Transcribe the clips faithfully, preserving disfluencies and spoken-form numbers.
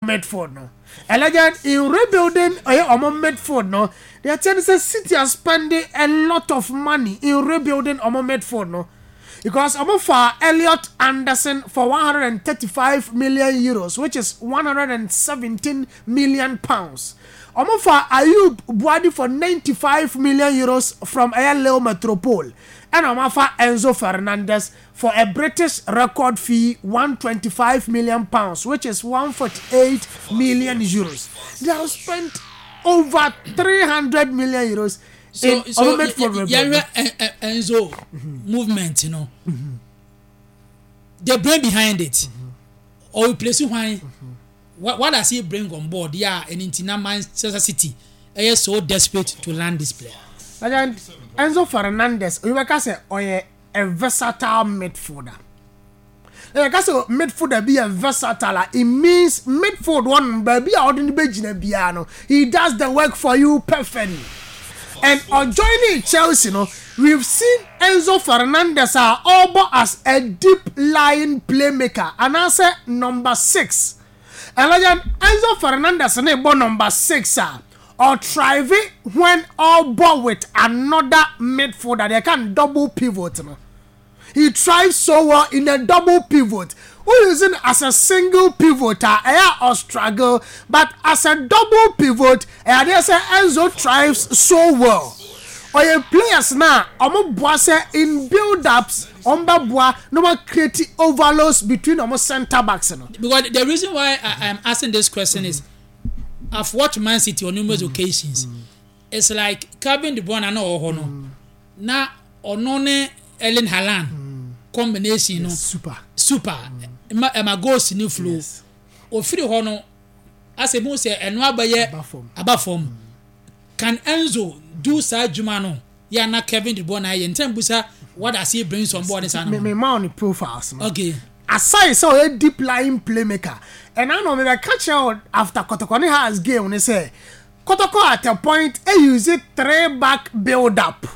Midfield no, ɛlɛgya in rebuilding ɛyɛ ɔmo midfield no, deɛ kyɛn sɛ City are spending a lot of money in rebuilding ɔmo midfield no, because ɔmo fa Elliot Anderson for one hundred and thirty-five million euros, which is one hundred and seventeen million pounds. Ɔmo fa Ayyoub Bouaddi for ninety-five million euros from ɛyɛ Lille Metropole, ɛna ɔmo afa Enzo Fernandez for a British record fee, one hundred twenty-five million pounds, which is one hundred forty-eight million euros. They have spent over three hundred million euros so in so ɔmo midfield rebuild. Yɛhwɛ Enzo movement no, the brain behind it or replace hwan? what, what does he bring on board? Yeah, ɛne nti na Manchester City ɛyɛ so desperate to land this player. Legend Enzo Fernandez, oyi bɛka sɛ ɔyɛ a versatile midfielder. Ɛyɛ ka sɛ midfielder bi yɛ versatile a, it means midfield one baabi a ɔde no bɛgyina biara no, he does the work for you perfectly. And ɔjoining Chelsea no, we've seen Enzo Fernandez a ɔbɔ as a deep lying playmaker anaasɛ number six. Ɛlɛyɛ Enzo Fernandez ne bɔ number six a, ɔthrive when ɔbɔ with another midfielder, they can double pivot no. He thrives so well in a double pivot. Who using as a single pivot a, ɛyɛ ɔstruggle, but as a double pivot, ɛyɛ adeɛ sɛ Enzo thrives so well. Ɔyɛ players na ɔmo boa sɛ in build ups, ɔmo bɛ boa na ɔmo create overloads between ɔmo centre backs no. Because the reason why I am asking this question is I've watched Man City on numerous mm. occasions. Mm. It's like Kevin De Bruyne na ɔwɔ hɔ no na ɔno ne Erling Haaland mm. combination no. Super. Super, ɛma ɛma goals ni flow. Yes. Ofiri hɔ no, asɛ mu sɛ ɛno abɛyɛ aba fam. Can Enzo do saa adwuma no yɛ ana Kevin De Bruyne ayɛ ntɛn busa, what does he bring on board saa no? Me me ma on the profiles no. Okay. Aside sɛ ɔyɛ deep lying playmaker, ɛna na ɔmo bɛ ka kyerɛ after Kɔtɔkɔ ne Hearts game ne sɛ Kɔtɔkɔ at a point e use three back build up,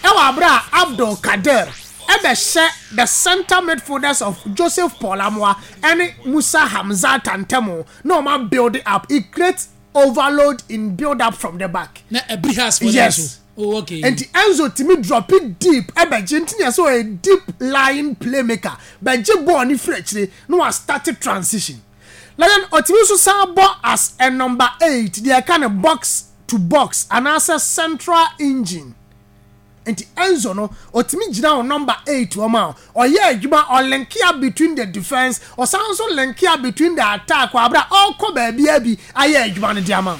ɛwɔ abere a Abdul Kader ɛbɛhyɛ the center midfielders of Joseph Paul Amoah ɛne Musa Hamza Tantemo na ɔmo build up. It creates overload in build up from the back. Na ɛbiri Hearts for. Yes. Oh, okay. Nti Enzo timi drop it deep ɛbɛgye, nti yɛ sɛ ɔyɛ deep lying playmaker, bɛgye ball ne firi akyire na wa start transition. Na then ɔtumi nso san bɔ as a number eight, deɛ ɛka ne box to box anaasɛ central engine. Nti Enzo no, ɔtumi gyina wɔ number eight wɔ ma ɔyɛ adwuma, ɔlink up between the defence, ɔsan nso link up between the attack wɔ abira ɔkɔ baabi abi ayɛ adwuma no de ama.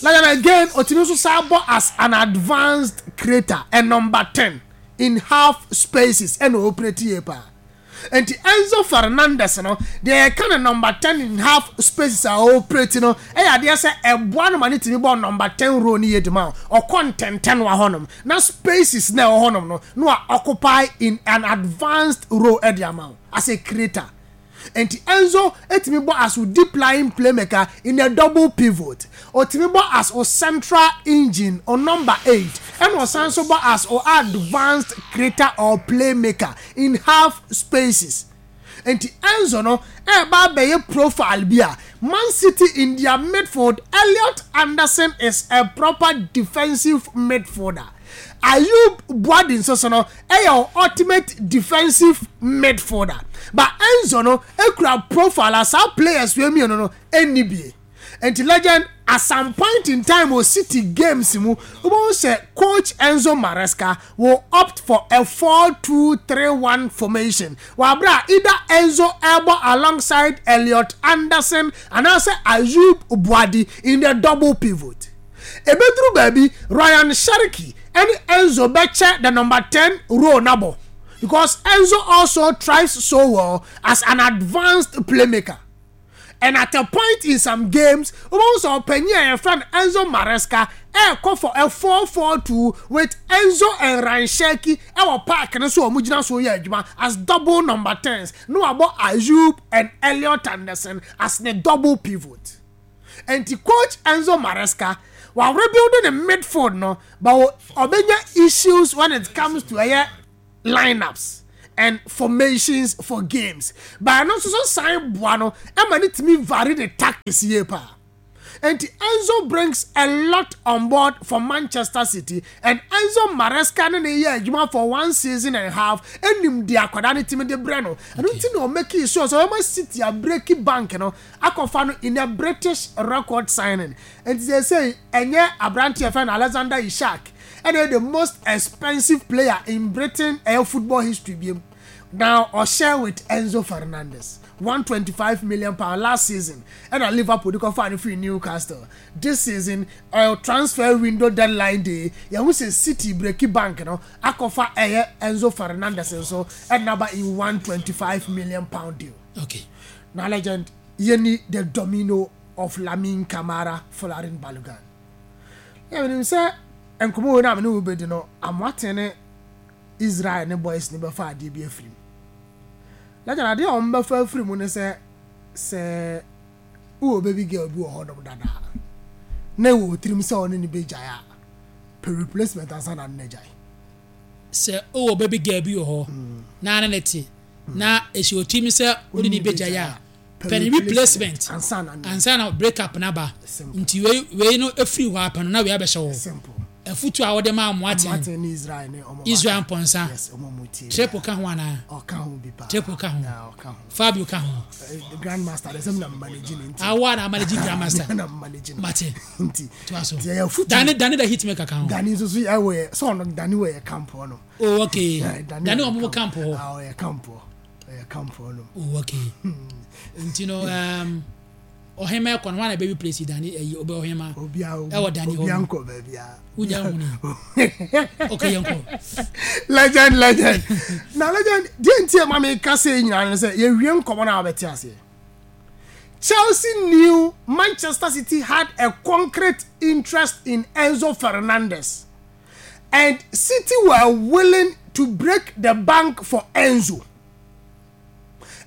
Na then again, ɔtumi nso san bɔ as an advanced creator and number ten in half spaces, ɛna operate yie paa. Nti Enzo Fernandez no deɛ, yɛka no number ten in half spaces a ɔoperate no, ɛyɛ adeɛ sɛ ɛboa no ma ne tumi bɔ number ten role no yie de ma ɔkɔ ntɛntɛn wɔ hɔnom na spaces na ɛwɔ hɔnom no na wa occupy in an advanced role ɛde ama wo as a creator. Nti Enzo etumi bɔ as o deep lying playmaker in a double pivot, otumi bɔ as o central engine o number eight, ɛna ɔsan so bɔ as o advanced creator or playmaker in half spaces. Nti Enzo no ɛɛba abɛyɛ profile bi a Man City in their midfield. Elliot Anderson is a proper defensive midfielder. Ayyoub Bouaddi nso so no ɛyɛ ultimate defensive midfielder, but Enzo no ekura profile a saa players wei mmienu no ɛnni bie. Nti legend, at some point in time o City games mu, wọ́n sɛ coach Enzo Maresca will opt for a four two three one formation wàbúrà either Enzo ɛbɔ alongside Elliot Anderson anaasɛ Ayyoub Bouaddi in the double pivot. Ebeduru baabi, Rayan Cherki ɛne Enzo bɛkyɛ the number ten role nabɔ, because Enzo also thrives so well as an advanced playmaker. And at a point in some games, wọ́n sọ ɔpanyin a yɛfrɛ no Enzo Maresca ɛɛkɔ for a four four two with Enzo and Rayan Cherki ɛwɔ park no so a wɔn gyina so yɛ adwuma as double number tens, na wabɔ Ayoub and Elliot Anderson as the double pivot. Nti coach Enzo Maresca wa rebuilding the midfield no, but ɔbɛnya issues when it comes to ɛyɛ lineups. and formations for games, but ɛno nso so san boa no ɛma ne tumi vary the tactics yie paa. Nti Enzo brings a lot on board for Manchester City, and Enzo Maresca ne ne yɛ adwuma for one season and a half, enim di akwadaa ne timi de brɛ no. Ɛno nti na ɔmake sure sɛ ɔma City abreak bank no akɔfa no in a British record signing. Nti sɛ sɛ ɛnyɛ aberanteɛ fɛn no Alexander Isak ɛna the most expensive player in Britain ɛyɛ football history biem. Now ɔhyɛ with Enzo Fernandez, one twenty five million pound last season ɛna Liverpool de kɔfa no firi Newcastle. This season, uh, transfer window deadline day, yɛn ho sɛ City break bank no akɔfa ɛyɛ Enzo Fernandez nso ɛna ba in one twenty five million pound deal. Okay na legend, yɛni the domino of Lamine Camara, Folarin Balogun. Yɛn sɛ nkɔmɔ wo na amene wo bɛdi no, Amoate ne Israel ne boys ne bɛfa adeɛ bi afiri mu. Legend, adeɛ a wɔn bɛfa afiri mu ne sɛ sɛ wowɔ baby girl bi wɔ hɔnom dada na ɛwɔ tirim sɛ ɔne ne bɛgyae a, pɛ replacement ansa na ne gyae. Sɛ wowɔ baby girl bi wɔ hɔ na ne ne te na esi otirim sɛ wode ne bɛgyae a, pɛ ne replacement ansa na ne ansa na break up n'aba. Simple. Nti wei wei no efiri hɔ apɛ no na wei abɛhyɛ hɔ. Simple. Afutu a wɔde ma Amoaten. Amoate ne Israel ne ɔmo. Israel Mpɔnsa. Yes, ɔmo mu tie. Triple ka ho anaa? Ɔka ho bi paa. Triple ka ho. Yeah, ɔka ho. Fabio ka ho? Eh, the grandmaster de sɛm na manage ne nti. Awa na amanage grandmaster. Na manage no. Mate. Nti to aso. Nti ɛyɛ afutu. Dane Dane the hitmaker ka ho? Dani nso so ɛwɔ yɛ sɛ ɔno Dani wɔ yɛ camp hɔ no. Oh, okay. Yeah, Dane wɔ wɔn mo camp hɔ? Ah, ɔyɛ camp hɔ, ɔyɛ camp hɔ no. Oh, okay. Nti no um, ɔhema ɛkɔ no, wɔn na bɛ replace Dane, ɛyi ɔbɛ ɔhema? Obia. Ɛwɔ Dani hɔ obia no. nkɔ baabia. Wunya hu ni, okay, yɛn kɔ. Legend, legend na legend deɛ, nti ɛma mi ka se nyinaa no sɛ yɛwie nkɔmɔ na wabɛte aseɛ. Chelsea knew Manchester City had a concrete interest in Enzo Fernandez, and City were willing to break the bank for Enzo.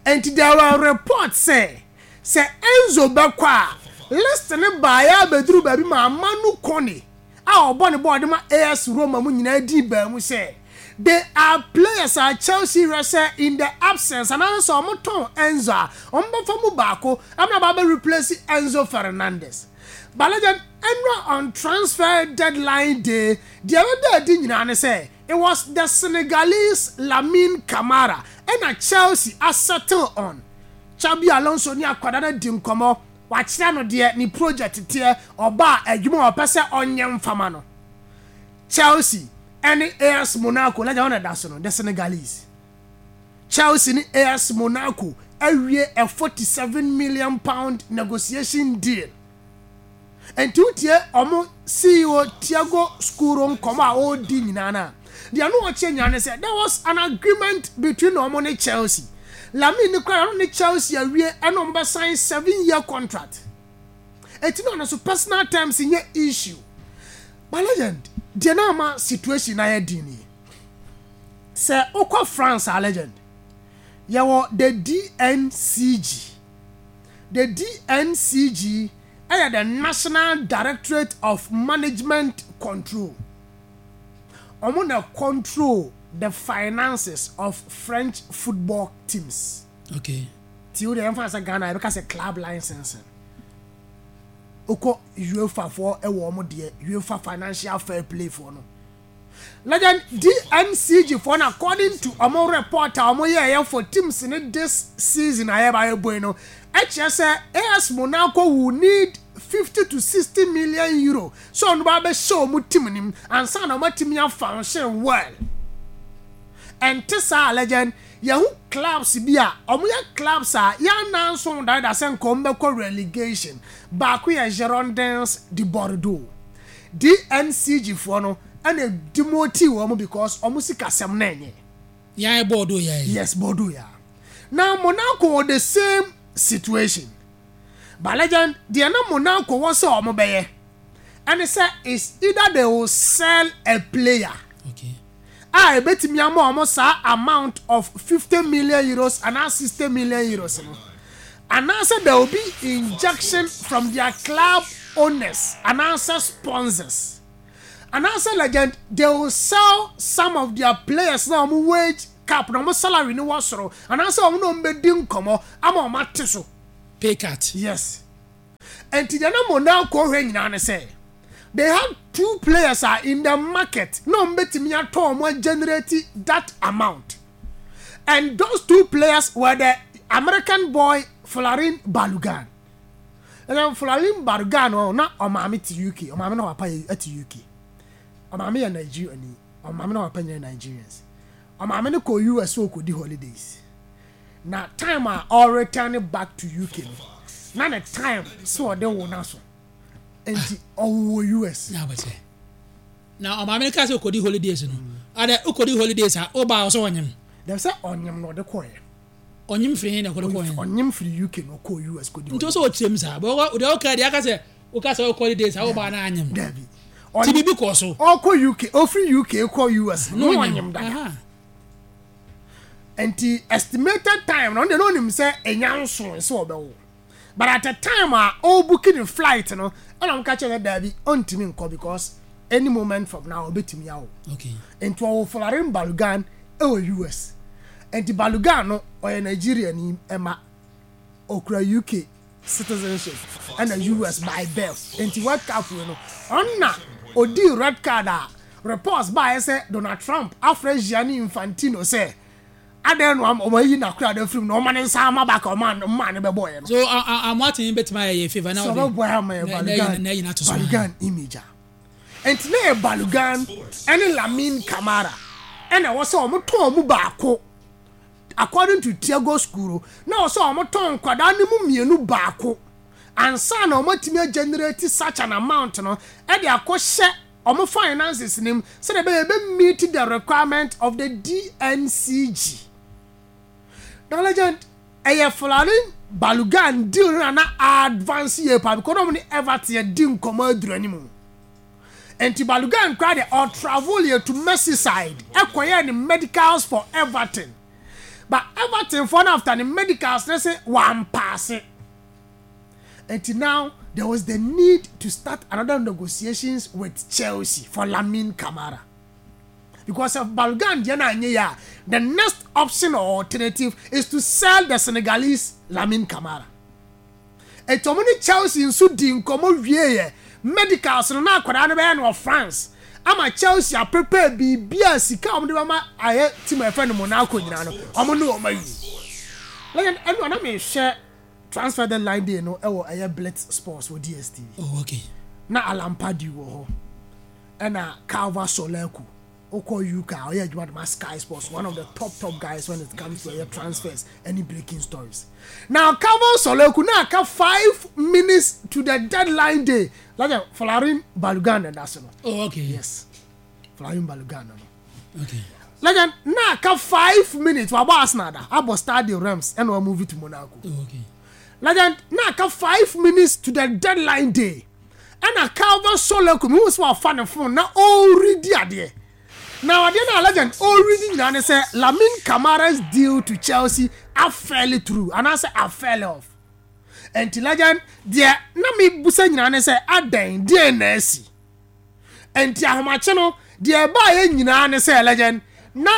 And there were reports say sɛ Enzo bɛkɔ a, list ne baayɛ abɛduru baabi ma Manu Kone a ɔbɔ ne bɔɔl de ma A S Roma mu nyinaa di baa mu sɛ they are players a Chelsea hwɛ sɛ in the absence anaasɛ sɛ ɔmo tɔn Enzo a, ɔmo bɛfa mu baako amuna ba bɛ replace Enzo Fernandez. But legend, ɛnura on transfer deadline day, deɛ ɛbɛda adi nyinaa ne sɛ it was the Senegalese Lamine Camara ɛna Chelsea asettle on. Xabi Alonso ne akwadaa no di nkɔmɔ, wakyerɛ no deɛ ne project teɛ, ɔbaa adwuma a ɔpɛ sɛ ɔnyɛ mfama no. Chelsea ɛne A S Monaco, legend, wɔn na ɛda so no, the Senegalese. Chelsea ne A S Monaco awie a forty seven million pound negotiation deal. Nti wotie ɔmo C E O Tiago Scuro nkɔmɔ a ɔredi nyinaa na deɛ no ɔkyerɛ nyinaa ne sɛ there was an agreement between ɔmo ne Chelsea. Lamine ne kora ɔno ne Chelsea awie ɛna ɔmo bɛ sign seven year contract. Eti na ɔno so personal terms nyɛ issue. But legend, deɛ na ama situation na yɛ din nie sɛ okɔ France a, legend, yɛwɔ the D N C G. The D N C G ɛyɛ the National Directorate of Management Control. Ɔmo na control the finances of French football teams. Okay ti o de yɛn fa sɛ Ghana yɛbɛka sɛ club licensing. Okɔ UEFA foɔ, ɛwɔ ɔmo deɛ UEFA Financial Fair Play foɔ no. Legend, D N C G foɔ no, according to ɔmo report a ɔmo yɛ ɛyɛ for teams ne this season a yɛba yɛ bɔ yi no, ɛkyerɛ sɛ A S Monaco will need fifty to sixty million euro so ɔno ba bɛhyɛ ɔmo team nim ansa na ɔmo atumi afunction well. Ɛnte saa, legend, yɛho clubs bi a ɔmo yɛ clubs a yɛanan nso dada sɛ nka ɔmo bɛkɔ relegation. Baako yɛ Girondins de Bordeaux. D N C G foɔ no ɛna demote wɔn because ɔmo sikasɛm na ɛnyɛ. Yɛn Bordeaux yɛ? Yes, Bordeaux ya. Now Monaco wɔ the same situation. But legend, deɛ na Monaco wɔ sɛ ɔmo bɛyɛ ɛne sɛ is either they will sell a player okay a ebetumi ama ɔmo saa amount of fifty million euros anaa sixty million euros no, anaasɛ there will be injection from their club owners anaasɛ sponsors, anaasɛ legend, they will sell some of their players na ɔmo wage cap na ɔmo salary ni wɔ soro anaasɛ ɔmo na ɔmo bɛdi nkɔmɔ ama ɔmo ate so. Pay cut. Yes, nti deɛ na Monaco hwɛ nyinaa ne sɛ they have two players are in the market na ɔmo bɛtumi atɔ ɔmo generate that amount, and those two players were the American boy Folarin Balogun. Ɛnna Folarin Balogun no, na ɔmaame te U K, ɔmaame na ɔpapa yɛ te U K. Ɔmaame yɛ Nigeria ni, ɔmaame na ɔpapa nyɛ Nigerians. Ɔmaame no kɔ U S sɛ ɔkɔdi holidays, na time a ɔreturn back to U K no, na ne time sɛ ɔde wo na so, nti ɔwɔ U S. Na abɛsɛ na ɔmaame no ka sɛ okodi holidays no adɛ, okodi holidays a ɔba ɔsɛ ɔnyim. Dɛm sɛ ɔnyim na ɔde kɔɛ. Ɔnyim firi hin na ɔkɔde kɔɛ? Ɔnyim firi U K na ɔkɔ U S kɔdi. Nti ɔsɛ ɔkyerɛ mu saa bɛ ɔde ɔka deɛ aka sɛ ɔka sɛ ɔkɔ holidays a ɔba na anyim. Dabi. Ti biribi kɔ so. Ɔkɔ U K, ɔfiri U K kɔ U S na ɔnyim dada. Aha. Nti estimated time na ɔno deɛ na ɔnim sɛ ɛnya nso sɛ ɔbɛwo, but at the time a ɔrebooki ne flight no, ɛna ɔka kyerɛ sɛ daabi, ɔntumi nkɔ because any moment from now ɔbɛtumi awo. Okay nti ɔwɔ Folarin Balogun ɛwɔ U S. Nti Balogun no, ɔyɛ Nigeria ni, ɛma okura U K citizenship ɛna U S by birth. Nti World Cup wei no, ɔnna odi red card a reports baayɛ sɛ Donald Trump afrɛ Gianni Infantino sɛ adan no ɔmo ayi n'akora de firim na ɔma ne nsa ama back a ɔma ɔma ne bɛbɔ yɛ no. So amoaten bɛtumi ayɛ yɛ favour na sɛ ɔde ɔbɛbɔ ama yɛ na- na Balogun na ɛyi n'ato so. Balogun image a nti na yɛ Balogun ɛne Lamine Camara ɛna ɛwɔ sɛ ɔmo tɔn ɔmo baako. According to Thiago Scuro, na ɛwɔ sɛ ɔmo tɔn nkwadaa no mu mmienu baako ansa na ɔmo atumi generate such an amount no ɛde akɔhyɛ ɔmo finances nim sɛdeɛ ɛbɛyɛ ɛbɛ meet the requirement of the D N C G. Na legend, ɛyɛ Folarin Balogun deal no na na advance yie pa because ɔmo ne Everton yɛ di nkɔmɔ aduru anim. Nti Balogun kora de ɔtravel yɛ to Merseyside ɛkɔyɛ ne medicals for Everton, but Everton for no, after ne medicals ne sɛ wampaase. Nti now there was the need to start another negotiations with Chelsea for Lamine Camara, because if Balogun deɛ na anyɛ yɛ a, the next option or alternative is to sell the Senegalese Lamine Camara. Eti ɔmo ne Chelsea nso di nkɔmɔ wie yɛ medicals no na akwadaa no bɛyɛ no wɔ France ama Chelsea aprepare biribi a sika a ɔmo de bɛma ayɛ team a yɛfrɛ no Monaco nyinaa no, ɔmo ne ɔmo ayi. Legend, ɛnu anam ehwɛ transfer deadline day no ɛwɔ ɛyɛ Blitz Sports wɔ D S T V. Oh, okay. Na Alan Pardew wɔ hɔ, ɛna Calva Soleku okɔ U K a ɔyɛ adwuma de ma Sky Sports, one of the top top guys when it comes to ɛyɛ transfers, any breaking stories. Now Calva Soleku, na aka five minutes to the deadline day, like Folarin Balogun na ɛda so no. Oh, okay. Yes, Folarin Balogun no no Okay. Legend, na aka five minutes wabɔ Arsenal da abɔ Stade Reims ɛna wa move to Monaco. Oh, okay. Legend, na aka five minutes to the deadline day ɛna Calvin Soleku mi hu sɛ wafa ne phone na ɔredi adeɛ, na adeɛ na legend ɔredi nyinaa ne sɛ Lamine Camara's deal to Chelsea afall through anaasɛ afall off. Nti legend, deɛ na mi busa nyinaa ne sɛ adan deɛ na asi. Nti ahomakye no deɛ ɛbaayɛ nyinaa ne sɛ, legend, na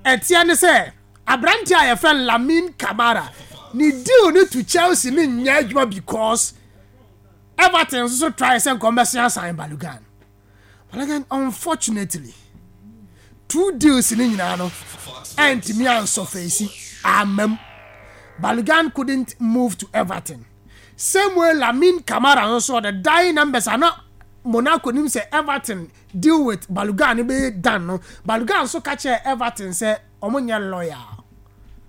ɛteɛ ne sɛ aberanteɛ a yɛfrɛ Lamine Camara ne deal ne to Chelsea ne nyɛ adwuma because Everton nso so try sɛ nkɔmbɛsia sign Balogun. But again, unfortunately, two deals ne nyinaa no ɛntumi ansɔfɛsi amam. Balogun couldn't move to Everton. Same way, Lamine Camara nso, the dying numbers ana Monaco nim sɛ Everton deal with Balogun ne bɛyɛ done no, Balogun nso ka kyerɛ Everton sɛ ɔmo nyɛ loyal,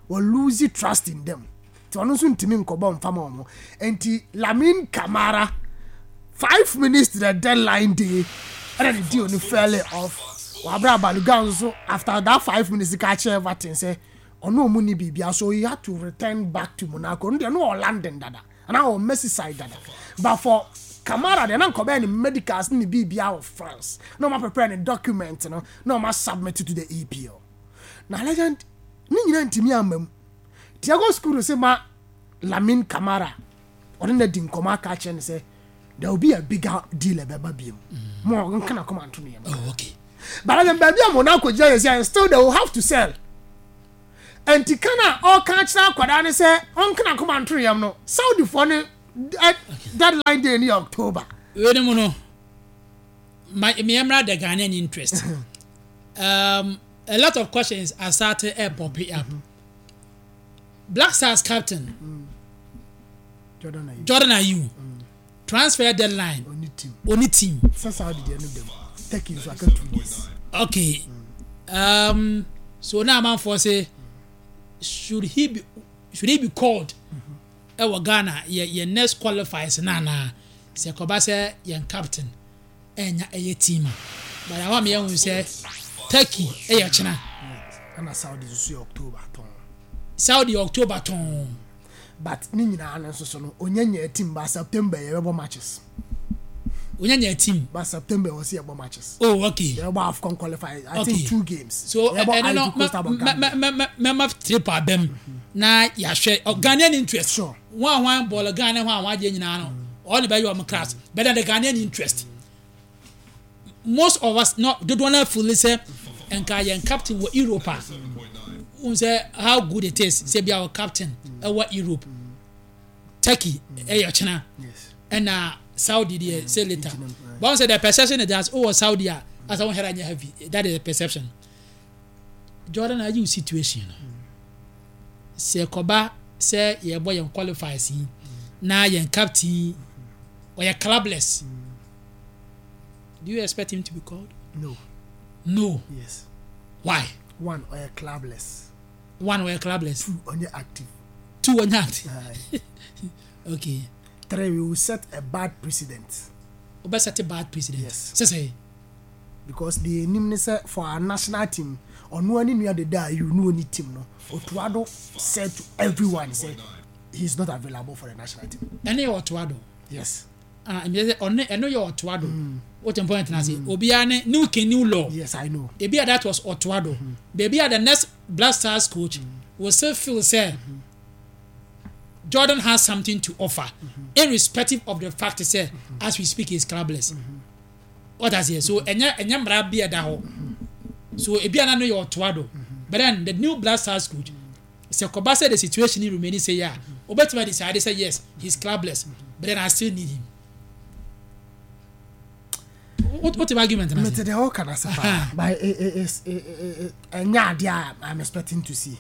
wɔ lose trust in them, nti ɔno nso ntumi nkɔbɔ nfam ɔmo. Nti Lamine Camara, five minutes to the deadline day ɛna ne deal no fell off. Wabra Balogun nso, after that five minutes, ka kyerɛ Everton sɛ ɔno ɔmo ni biribia, so he had to return back to Monaco. Ɔno deɛ no wɔ London dada anaa wɔ Merseyside dada, but for Camara deɛ, na nkɔbɛyɛ ne medicals ne ne biribia wɔ France na ɔma prepare ne document no na ɔma submit to the E P L. Na legend, ne nyinaa ntumi ama mu. Thiago Scuro sɛ ma Lamine Camara ɔne na di nkɔmɔ aka kyerɛ no sɛ there will be a bigger deal ɛbɛba biem mo nka na kɔma nto no yɛm. Oh, okay. But then baabi a Monaco gyina yɛ sɛ still they will have to sell. Nti kan a ɔka kyerɛ akwadaa ne sɛ ɔnkena koma nto yam no, Saudifoɔ ne ɛ deadline day ne yɛ October. Wei mu no, my mmeɛmra the Ghanaian interest, um, a lot of questions are starting to pop up. Black Stars captain mm. Jordan Ayew, Jordan Ayew mm. transfer deadline, oni team. Oni team. Sɛ Saudi deɛ no dɛm, Turkey nso aka two days. Okay, um, so now amanfoɔ say, should he be should he be called ɛwɔ Ghana yɛ yɛ next qualifiers na na sɛ kɔba sɛ yɛn captain ɛnya ɛyɛ team a, but àwọn mi yɛn hu sɛ Turkey ɛyɛ kyena. Ɛna Saudi nso yɛ October tɔn. Saudi October tɔn. But ne nyinaa no nso so no, onye nya team ba September yɛbɛbɔ matches. Onye nya team. Ba September wɔ sɛ yɛbɔ matches. Oh, okay. Yɛbɔ AFCON qualify, I Okay. think two games. So yɛbɔ ɛno no Ivory Coast abɔ Gambia. mɛma trip abɛm na yɛahwɛ oh, Ghanaian interest. Sure. Wɔn a wɔn bɔɔl Ghana ho a wɔn agye nyinaa no, ɔno bɛyɛ wɔn class, but then the Ghanaian interest, most of us no dodoɔ no feel sɛ nka yɛn captain wɔ Europe a n sɛ how good it is sɛ bi a wɔ captain ɛwɔ Europe. Turkey ɛyɛ kyena. Yes. Ɛna Saudi deɛ say later, but wɔn sɛ the perception is that ɔwɔ Saudi a asa wɔn hɛrɛ anyɛ heavy. That is the perception. Jordan Ayew situation no, sɛ kɔba sɛ yɛbɔ yɛn qualifiers yi na yɛn captain ɔyɛ clubless, do you expect him to be called? No. No? Yes. Why? One, ɔyɛ clubless. One, ɔyɛ clubless. Two, ɔnyɛ active. Two, ɔnyɛ active. Aye. Okay. Three, we will set a bad precedent. Ɔbɛ set a bad precedent? Yes. Sɛ sɛ Because the anim ne sɛ for our national team, ɔno ani nua deda Ayew ne oni team no, Otto Addo said to everyone say he is not available for the national team. Ɛne yɛ Otto Addo. Yes. Ah, ɛmi sɛ ɔne ɛno yɛ Otto Addo. Wote point na se obiara ne new king, new law. Yes, I know. Ebi a that was Otto Addo. Beebi a the next Black Stars coach will still feel say Jordan has something to offer, irrespective of the fact say as we speak he is clubless. What I say, so ɛnyɛ ɛnyɛ mmara bi ɛda hɔ so ebi a na no yɛ Otto Addo, but then the new Black Stars coach, sɛ kɔba sɛ the situation remain say yeah, obetuma decide say yes, he is clubless, but then I still need him. What what argument na mete say? Deɛ ɔka na sɛ paa, but it- it- it's- it- it- it- ɛnyɛ adeɛ a I'm expecting to see.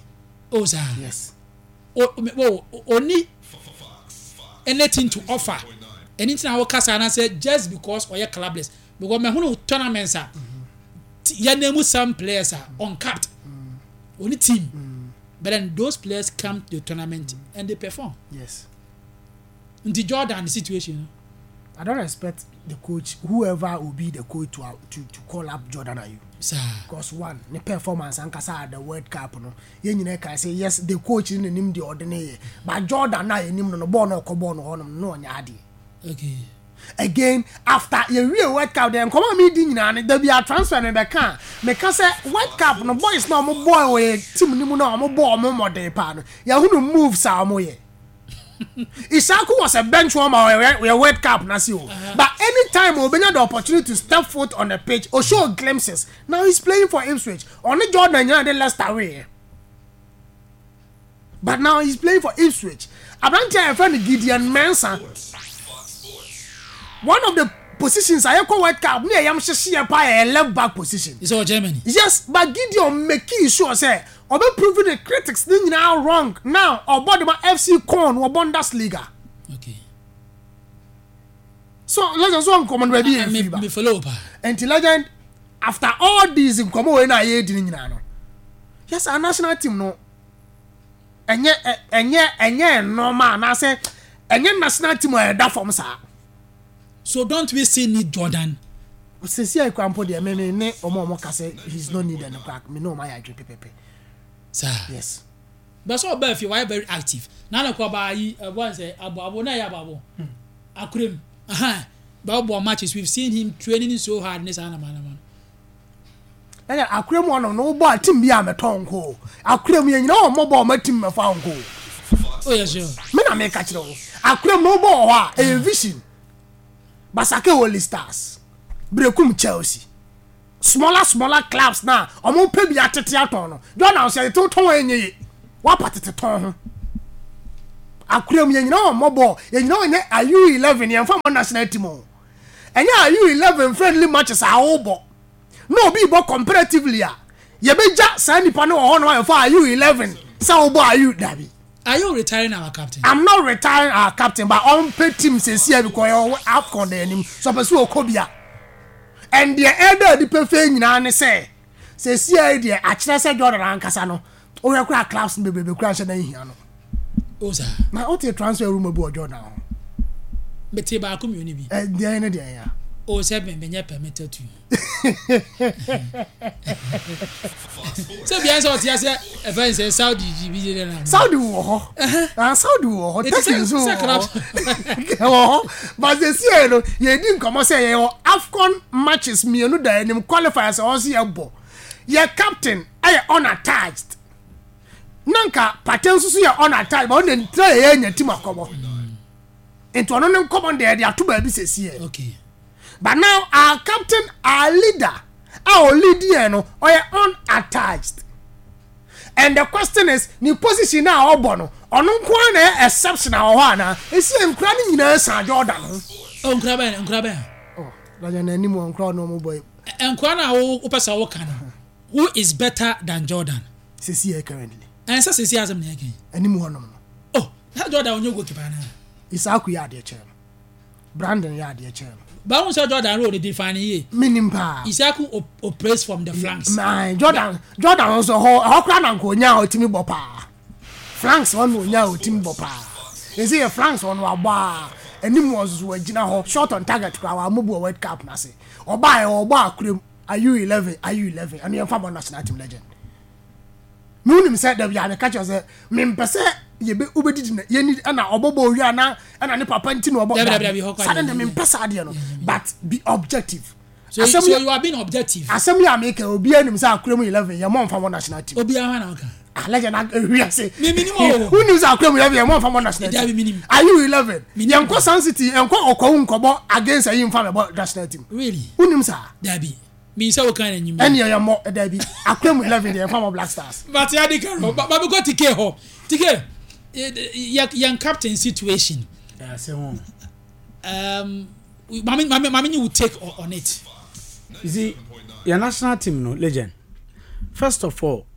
Oh sir. Yes. O o oni anything to offer, ɛni tí na wɔ kasa na sɛ just because ɔyɛ clubless, because mɛhunu tournaments a yɛn name some players a uncapped, oni team, but then those players come to the tournament and they perform. Yes. Nti Jordan situation no? I don't expect the coach, whoever will be the coach, to to, to call up Jordan Ayew. Saa. Because one, ne performance ankasa at the World Cup no, yɛn nyinaa kan say yes, the coach ne nim deɛ ɔde ne yɛ, but Jordan na yɛnim no no bɔɔl no ɔkɔ bɔɔl no hɔnom no, ɔnyɛ adeɛ. Okay again, after yɛwie World Cup deɛ, nkɔmɔ a mi di nyinaa no dabi a transfer no bɛka a meka sɛ World Cup no, boys na ɔmo bɔɔl wɔ yɛ team no mu na ɔmo bɔɔl ɔmo mmɔden paa no, yɛhunu moves a ɔmo yɛ. Issahaku was a bench warmer wɔ yɛ World Cup na si o, but anytime obenya the opportunity to step foot on the pitch, o show glimpses. Now he's playing for Ipswich. Ɔne Jordan nyinaa de Leicester wei, but now he's playing for Ipswich. Aberante a yɛfrɛ no Gideon Mensah, one of the positions a yɛkɔ World Cup ne yɛyam hyehye yɛ paa yɛ left back position. It's all Germany. Yes, but Gideon make sure sɛ ɔbɛ prove the critics ne nyinaa wrong. Now ɔbɔ de ma F C Köln wɔ Bundesliga. Okay So legend, so nkɔmɔ no baabi yɛ me firi ba. Me follow pa. Nti legend, after all these nkɔmɔ wei na yɛ di ne nyinaa no, yes, our national team no ɛnyɛ ɛ- ɛnyɛ ɛnyɛ nneɛma anaasɛ ɛnyɛ national team a ɛda fam saa. So don't we still need Jordan? Sisi a ekura mpo deɛ, me me ne ɔmo a ɔmo ka sɛ he is not needed no kora, me ne ɔmo ayɛ adwene pɛpɛpɛ. Saa. Yes. But sɛ ɔbaa fie, wayɛ very active na ne kɔ ɔbaa yi ɛbɔ nsɛ abo abo na ɛyɛ abo abo akurem ahan bɛbɔ matches. We've seen him training so hard ne saa nama nama no. Ɛyɛ akura mu ɔnom no wobɔ a team bi a mɛtɔ nko akura mu yɛ nyina wɔn mmɔbɔ ɔmo team mɛfa nko. Oh yes, sure. Me na meka kyerɛ wo, akura mu no wobɔ wɔ hɔ a ɛyɛ vision. Basake Holy Stars, Brekum Chelsea, smaller smaller clubs na ɔmo pɛ bi atete atɔn no. Jordan sɛ yɛte tɔn ɛnyɛ ye. Wapa tete tɔn ho. Akura mu yɛn nyinaa wɔn mmɔ bɔɔl, yɛn nyinaa wɔn nyɛ ayu eleven yɛn fa mo national team o. Ɛnyɛ ayu eleven friendly matches a wɔbɔ. Na obi bɔ comparatively a yɛbɛgya saa nipa no wɔ hɔ no a yɛfa ayu eleven sɛ wɔbɔ ayu dabi. Are you retiring our captain? I'm not retiring our captain, but ɔmpɛ team sɛsi a because yɛwɔ AFCON da anim so ɔpɛ sɛ ɔkɔ bia. And deɛ ɛda adi pefee nyinaa ne sɛ sɛsi a yi deɛ akyerɛ sɛ Jordan ankasa no wohwɛ kora clubs no bebrebe kora nhyɛ da nhia no. O saa. Na wote transfer rumour bi wɔ Jordan ho? Mete baako mmienu bi. Ɛ deɛ ne deɛ ya. O sɛ me menyɛ permitted to. Sɛ bia sɛ ɔte ase ɛfɛ sɛ Saudi bi de na. Saudi wɔ hɔ. Ah, Saudi wɔ hɔ. Turkey nso wɔ hɔ. Wɔ hɔ. But sɛsi yɛ no yɛdi nkɔmɔ sɛ yɛwɔ AFCON matches mmienu da anim, qualifiers a ɔsi yɛ bɔ. Yɛ captain ɛyɛ unattached. Nanka Partey nso so yɛ unattached, but ɔno ntira yɛ yɛ nya team akɔbɔ. Nti ɔno ne nkɔmɔ deɛ yɛde ato baabi sɛsi yɛ. Okay. But now our captain, our leader, our lead yɛn no ɔyɛ unattached. And the question is, ne position na ɔbɔ no, ɔno nko ara na ɛyɛ exception a wɔ hɔ anaa? Esi yɛ nkura no nyinaa san Jordan ho. O nkura bɛn, nkura bɛn? Oh, lɔya n'anim wɔ nkura ɔno ɔmo bɔ yi. Nkura na wo wopɛ sɛ woka no, who is better than Jordan? Sisi yɛ currently. Ɛnsɛ sisi asɛm na yɛ kɛn. Anim hɔ nom no. Oh, na Jordan onye goalkeeper na. Isaaku yɛ adeɛ kyɛn no. Brandon yɛ adeɛ kyɛn no. Báwo sɛ Jordan role define yie? Minim paa. Isaaku op operates from the flanks. Maa Jordan Jordan nso hɔ ɛhɔ koraa na nka onya a ɔtumi bɔ paa. Flanks hɔ na onya a ɔtumi bɔ paa. Esi yɛ flanks hɔ no wabɔ a anim wɔ nso wagyina hɔ shot on target koraa wa amobu wɔ World Cup n'ase. Ɔbaa yɛ ɔbɔ akurem ayu eleven ayu eleven ɛno yɛn fa bɔ national team, legend. Mi wunim sɛ dabi a meka kyerɛ sɛ mempɛ sɛ yɛbɛ wobɛdidi na yɛni ɛna ɔbɔbɔ owia na ɛna ne papa nti na ɔbɔ. Dabi, dabi, dabi, hɔ kɔ saa de deɛ, mempɛ saa adeɛ no, but be objective. So, Asɛm so yɛ you are being objective. Asɛm yɛ a meka, obiara nim sɛ akura mu eleven yɛ mɔ nfa mɔ national team. Obiara hɔ na ɔka. Ah, legend, ehwi ase. Mi minim o. Wunim sɛ akura mu eleven yɛ mɔ nfa mɔ national Dabi, team. minim. Ayu eleven. Minim. Yɛn kɔ Sun City, yɛn kɔ ɔkɔwu nkɔbɔ against ayi nfa mɛ bɔ national team. Really? Wunim saa? Dabi. Mi sɛ o kan na enyim. Ɛni yɛ mɔ dabi, akura mu eleven yɛ nfa mɔ Black Stars. But ya di karo. Ba ba bi ko Tike hɔ. Tike, yɛ yɛn captain situation. Ɛsɛ ho. Um, mami mami mami ni will take on, on it. You see, your national team no, legend. First of all,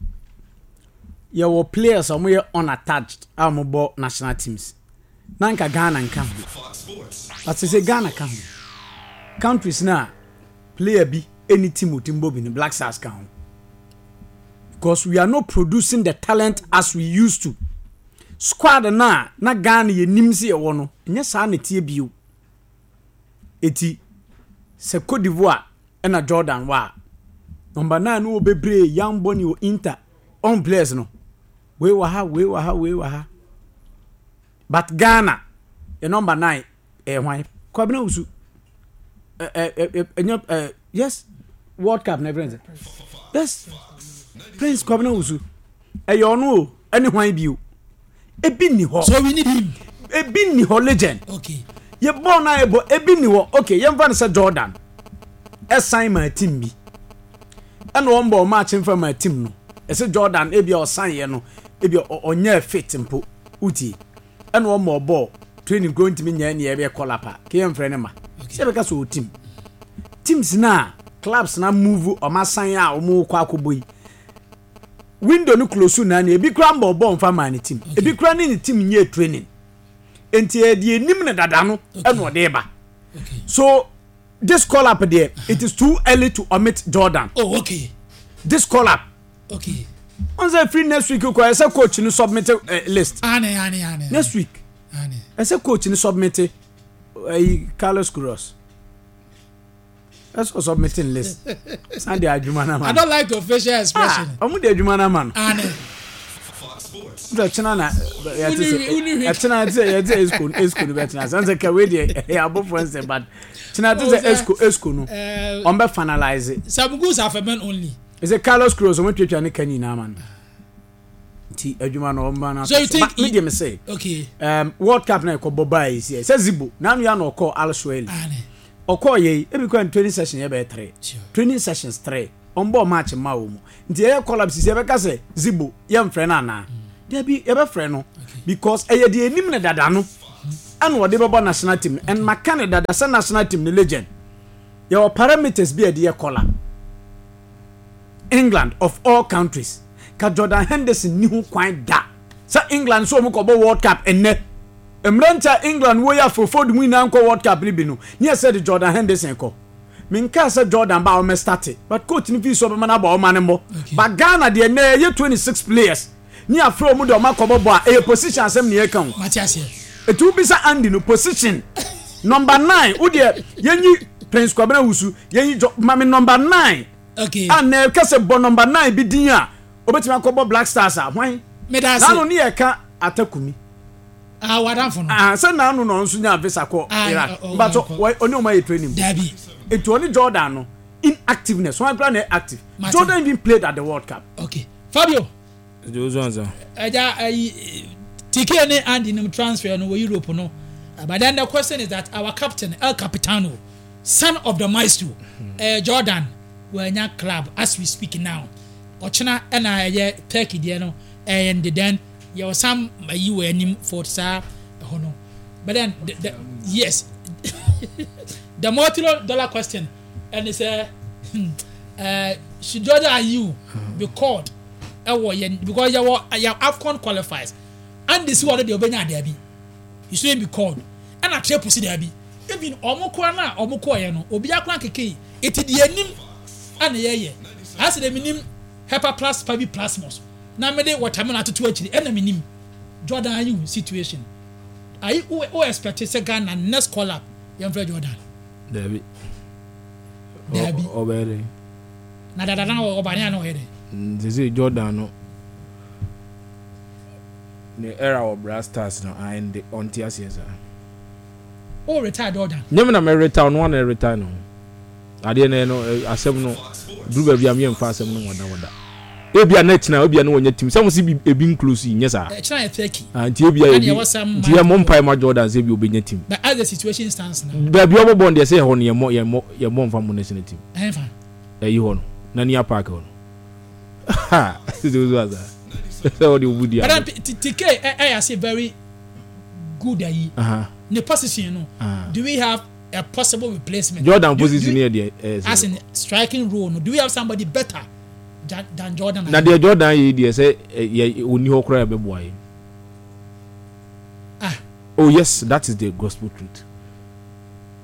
yɛwɔ players a wɔyɛ unattached a wɔbɔ national teams. Na nka Ghana nka ho. But sɛ Ghana ka ho. Countries na player bi any team o team bɔ bi no, Black Stars ka ho. Because we are not producing the talent as we used to. Squad na na Ghana yɛ nim sɛ yɛwɔ no, nyɛ saa na tie bio. Eti sɛ Cote d'Ivoire ɛna Jordan wɔ a, number nine no wɔ bebree, young Bonny wɔ Inter on players no. Wei wɔ ha, wei wɔ ha, wei wɔ ha. But Ghana, yɛ number nine ɛyɛ hwan? Kwabena Wusu. Ɛ ɛ ɛ ɛnyɛ ɛ yes, World Cup na ɛfrɛ sɛ. Yes, Prince Kwabena Wusu. Ɛyɛ ɔno o, ɛne hwan bio? Ebi ni hɔ. So we need him. Ebi ni hɔ, legend. Okay. Yɛ bɔɔl na yɛ bɔ, ebi ni hɔ. Okay, yɛmfa no sɛ Jordan ɛsan ma team bi ɛna wɔn bɔ ɔmo akye nfa ma team no, ɛsɛ Jordan ebi a ɔsan yɛ no, ebi a ɔnyɛ fit mpo utie, ɛna wɔn bɔ bɔɔl training kuro ntumi nyɛ nea ɛbɛ kɔ lapa ke yɛn frɛ ne ma sɛ ɛbɛka sɛ o team teams na clubs na move ɔmo asan a ɔmo kɔ akɔbɔ yi, window no close na ne ebi kura mbɔ bɔɔl nfa ma ne team, ebi kura ne ne team nyɛ training, nti ɛdeɛ enim ne dada no ɛna ɔde ba. Okay. So this call up there, it is too early to omit Jordan. Oh, okay. This call up. Okay. On say free next week kɔ ɛsɛ coach no submit uh, list. Ane ane ane. Next week. Ane. Ɛsɛ coach no submit ɛyi, uh, Carlos Queiroz. Ɛsɛ submitting list. San de adwuma na ma. I don't like your facial expression. Ah, ɔmo de adwuma na ma no. Ane. Sɛ kyena na yɛte sɛ ɛkyena te sɛ yɛte sɛ esco esco no bɛtena sɛ nsɛ kɛwé deɛ ɛyɛ abɔfoɔ nsɛ, but kyena te sɛ esco esco no ɔn bɛ finalize. Some goods are for men only. Ɛsɛ Carlos Queiroz ɔmo twetwa ne ka nyinaa ma no nti adwuma no ɔmo ba na. So you think me deɛ me say okay um, World Cup na ɛkɔ bɔ baa yi si sɛ Zibo nanu ya na ɔkɔ Al Suwaili ɔkɔ yɛ yi, ebi kɔ training session yɛ bɛyɛ three training sessions three, ɔmo bɔ match ma wɔ mu, nti ɛyɛ call up sisi ɛbɛka sɛ Zibo yɛ nfrɛ no anaa Dabi, yɛbɛfrɛ no because ɛyɛ deɛ anim ne dada no ɛna ɔde bɛbɔ national team no, and maka ne dada sɛ national team no, legend, yɛwɔ parameters bi a yɛde yɛ kɔla. England of all countries ka Jordan Henderson ni ho kwan da sɛ England nso wɔn kɔbɔ World Cup. Ɛnɛ mmeranteɛ a England wɔ yi afofo de mu nyinaa nkɔ World Cup no bi no ne yɛ sɛ de Jordan Henderson kɔ. Menkaa sɛ Jordan ba a ɔmɛ start, but coach no fi so ɔbɛma no abɔ, ɔma no mmɔ. But Ghana deɛ, nnɛ ɛyɛ twenty six players ne afrɛ ɔmu de ɔma kɔbɔ bɔ a, ɛyɛ position asɛm ne yɛka o. Mate aseɛ. Etu bisa Andy no position number nine wo deɛ, yɛnyi Prince Kwabena Wusu, yɛnyi jɔ mami number nine Okay. A na ɛka sɛ bɔ number nine bi din a obetumi akɔbɔ Black Stars a, hwan? Meda ase. N'ano ne yɛka Atakumi. Ah, wadamfo no. Ah, sɛ n'ano na ɔno nso nya visa kɔ Ah, Iraq. ɔ- ɔ- Mbatɔ ɔkɔ. ɔne ɔmo ayɛ training. Dabi. Etu ɔne Jordan no inactiveness, wɔn akora na yɛ active. Mate. Jordan even played at the World Cup. Okay. Fabio. Ɛdi ansa. Ɛgya ɛyi T K ne Andy nim transfer no wɔ Europe no. Uh, But then the question is that our captain, El Capitano, son of the maestro, uh, Jordan, wɔanya club as we speak now. Ɔkyena ɛna ɛyɛ Turkey deɛ no ɛyɛ and then yɛwɔ some ayi wɔ anim for saa ɛhɔ no. But then the, the, yes, the multi dollar question ɛne sɛ hmm, uh, should Jordan Ayew be called ɛwɔ yɛn, because yɛwɔ yɛ AFCON qualifiers? Andy si wɔn deɛ, ɔbɛnya daabi, he shouldn't be called, ɛna Triple si daabi. Even ɔmo kora na ɔmo kɔɔ yɛ no, obi akora keke yi eti deɛ anim ɛna yɛyɛ ase de mi nim hepa plus fabi plasmos na mi de watermelon atoto akyiri, ɛna mi nim Jordan Ayew situation. Ayi o o expect sɛ Ghana next call up yɛn fɛ Jordan? Dabi. Dabi. Ɔbɛyɛ dɛ. Na dada na ɔba ne ano ɔyɛ dɛ. Sese Jordan no ne era wɔ Black Stars no ayɛ ɔnte aseɛ saa. O retire Jordan? Nyɛm na mɛ retire no, ɔno retire no adeɛ no no asɛm no duru baabi a meyɛ mfa asɛm no wɔda wɔda ebia na kyina ebia na wɔnyɛ team sɛ mo si ebi nclose yi nyɛ saa. Ɛkyina yɛ Turkey. Ah, nti ebia Ɛna ebi yɛwɔ some nti yɛ mo mpae ma Jordan sɛ ebi obɛnya team. But as the situation stands now. Baabi ɔbɔ bɔɔl deɛ, sɛ ɛhɔ no yɛmmɔ yɛmmɔ yɛmmɔ nfa mo national team. Ɛnfa. Ɛyi hɔ no Nania Park hɔ no ha sisi osu asa sɛ ɔde obu di But then ado. T K ɛ ɛyɛ ase very good ayi Aha, ne position no, aha. do we have a possible replacement? Jordan Do- position do- yɛ deɛ ɛyɛ As sɛ in striking role no, do we have somebody better than, than Jordan? Na deɛ Jordan yɛ yi deɛ, sɛ ɛ, yɛ oni hɔ koraa yɛbɛboa yɛ. Ah. Oh yes, that is the gospel truth.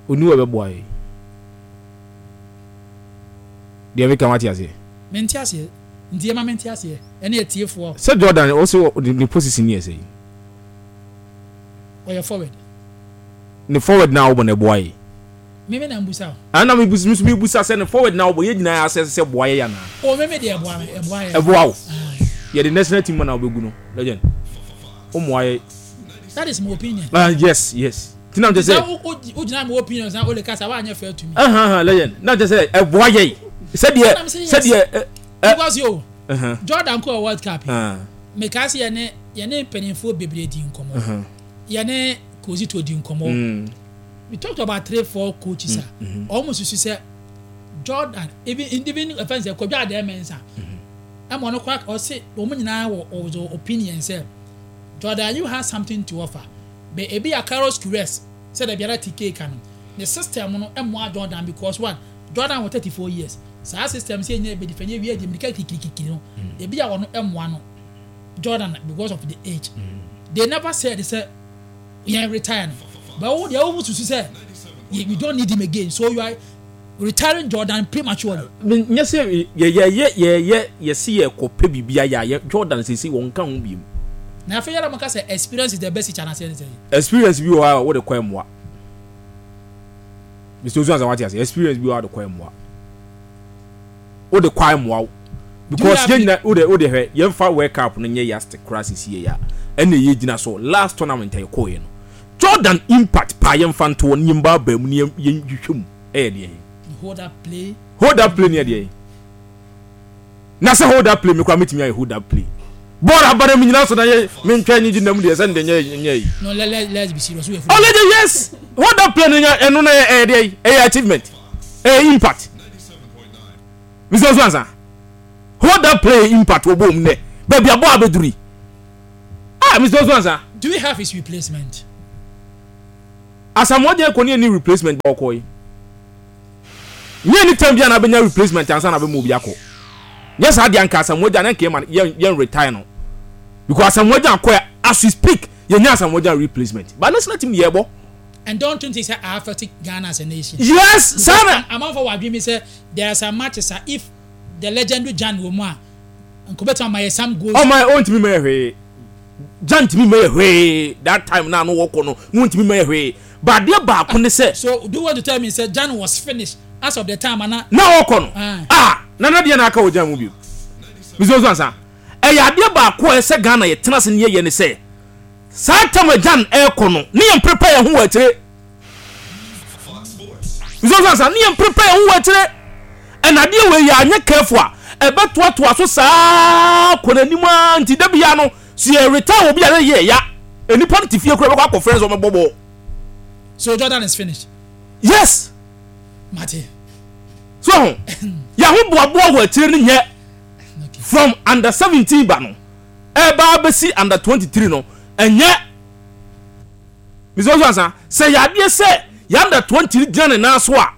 Oni hɔ yɛbɛboa yɛ deɛ meka wate aseɛ. Mente aseɛ, nti yɛma mente aseɛ ɛne ɛtiefoɔ. Sɛ Jordan ɔsɛ wɔ- ne position yɛ sɛ Ɔyɛ forward. Ne forward na ɔbɔ na ɛboa yɛ. Meme na mbusa o. Ana mi busa mi busa sɛ ne forward na ɔbɔ yɛ nyinaa asɛ sɛ boa yɛ yana. O, meme deɛ, ɛboa me, ɛboa yɛ. Ɛboa wo? Ah, yɛde national team na ɔbɛgu no, legend, o mmoa yɛ. That is my opinion. Ah yes yes tina n tɛ sɛ sɛ o gyina my opinion na o le kasa wa anyɛ fair to me. Ahan legend, na n tɛ sɛ ɛboa yɛ sɛdeɛ I'm saying yes. Sɛdeɛ ɛ ɛ Because yo ɛhɛn, Jordan kɔ World Cup yi, ah, meka sɛ yɛne yɛne mpanimfoɔ bebree di nkɔmmɔ, ɛhɛn, yɛne Kozito di nkɔmmɔ. Mm, We talked about three four coaches a ɔmo susu sɛ Jordan, even even ɛfɛn sɛ Kwadwo Adeɛ Mɛnsa ɛma ɔno kora ɔse wɔn nyinaa wɔ ɔwɔ opinion sɛ Jordan, you have something to offer, but ebi yɛ Carlos Queiroz sɛ dɛbi ara T K ka no ne system no ɛmoa Jordan, because one, Jordan wɔ thirty four years, saa system sɛ ɛnyɛ ebedi fɛ nye wie di mirika kikikiki no, ebi a wɔn ɛmoa no Jordan because of the age. They never said sɛ yɛn retire no, but wo deɛ wo susu sɛ we don't need him again, so you are retiring Jordan prematurely. Nyɛ sɛ yɛ yɛ yɛ yɛ yɛ yɛsi yɛ kɔpɛ biribi ayɛ a yɛ Jordan sisi wɔn ka ho bi mu. Na afei yɛrɛ mo ka sɛ experience is the best teacher na sɛ ɛne sɛ. Experience bi wɔ hɔ a wɔde kɔ ɛmoa. Mister Osu Ansa, wate ase? Experience bi wɔ hɔ a wɔde kɔ ɛmoa, wɔde kɔ ɛmoa wo because yɛn nyina wode wode hwɛ, yɛmfa World Cup no nyɛ yardstick koraa. Sisi yɛ ya ɛna yɛ gyina so last tournament a yɛkɔɔ yɛ no, Jordan impact paa, yɛmfa ntoɔ ne yɛn ba aba mu ne yɛn yɛn hwehwɛ mu, ɛyɛ deɛ hold up play. Hold up play ne yɛ deɛ na sɛ hold up play mi koraa metumi ayɛ hold up play, bɔɔl abara mi nyina so na yɛ mentwɛn nye gyina mu deɛ sɛ ne deɛ nyɛ nyɛ yi. No, let let let's be serious, we Ɔlɛgye yes, hold up play no nyɛ ɛno na yɛ ɛyɛ deɛ yi, ɛyɛ achievement, ɛyɛ impact. Mister Osu Ansa, hold up play impact wɔ bɔɔl mu nɛ baabi a bɔɔl abɛduru yi. Ah, Mister Osmansa. Do we have his replacement? Asamoah Gyan kɔ ne yɛ replacement ba ɔkɔ yi. Nyɛ ni time bi a na bɛnya replacement ansa na bɛma obi akɔ. Nyɛ saa deɛ anka Asamoah Gyan na nka yɛma yɛn yɛn retire no. Because Asamoah Gyan kɔ as we speak yɛnya Asamoah Gyan replacement. But national team yɛ bɔ. And don't you think say I affect Ghana as a nation? Yes, sana. Amanfo wa adwene mi sɛ there are some matches a if the legendary Gyan wɔ mu a nkɔbɛtuma ma yɛ some goals. Ɔmo ɔntumi mɛ yɛ hwee. Gyan ntumi mɛ yɛ hwee that time na ano wɔkɔ no no ntumi mɛ yɛ hwee. But adeɛ baako ne sɛ. So do you want to tell me say Gyan was finished as of the time ana. Na ɔkɔ no. Ah, nana deɛ na aka wɔ Gyan mu bio. Mister Osu ɛyɛ adeɛ baako a ɛsɛ Ghana yɛ tena se ne yɛ yɛ ne sɛ saa time a Gyan ɛrekɔ no ne yɛn prepare yɛn ho wɔ akyire. Mister Osu ne yɛn prepare yɛn ho wɔ akyire. Ɛna adeɛ wɔ yɛ anyɛ careful a ɛbɛtoatoa so saa kɔ n'anim a nti dabi ya no si yɛ retire wɔ bi a yɛ ya nipa no te fie kura bɛkɔ akɔ friends wɔn bɔ bɔ. So Jordan is finished. Yes. Mate. So yɛn ho boaboa wɔ akyire no nyɛ from under seventeen ba no ɛba abɛsi under twenty three no ɛnyɛ Mister Osu ansa sɛ yadeɛ sɛ yɛ under twenty gyina ne nan so a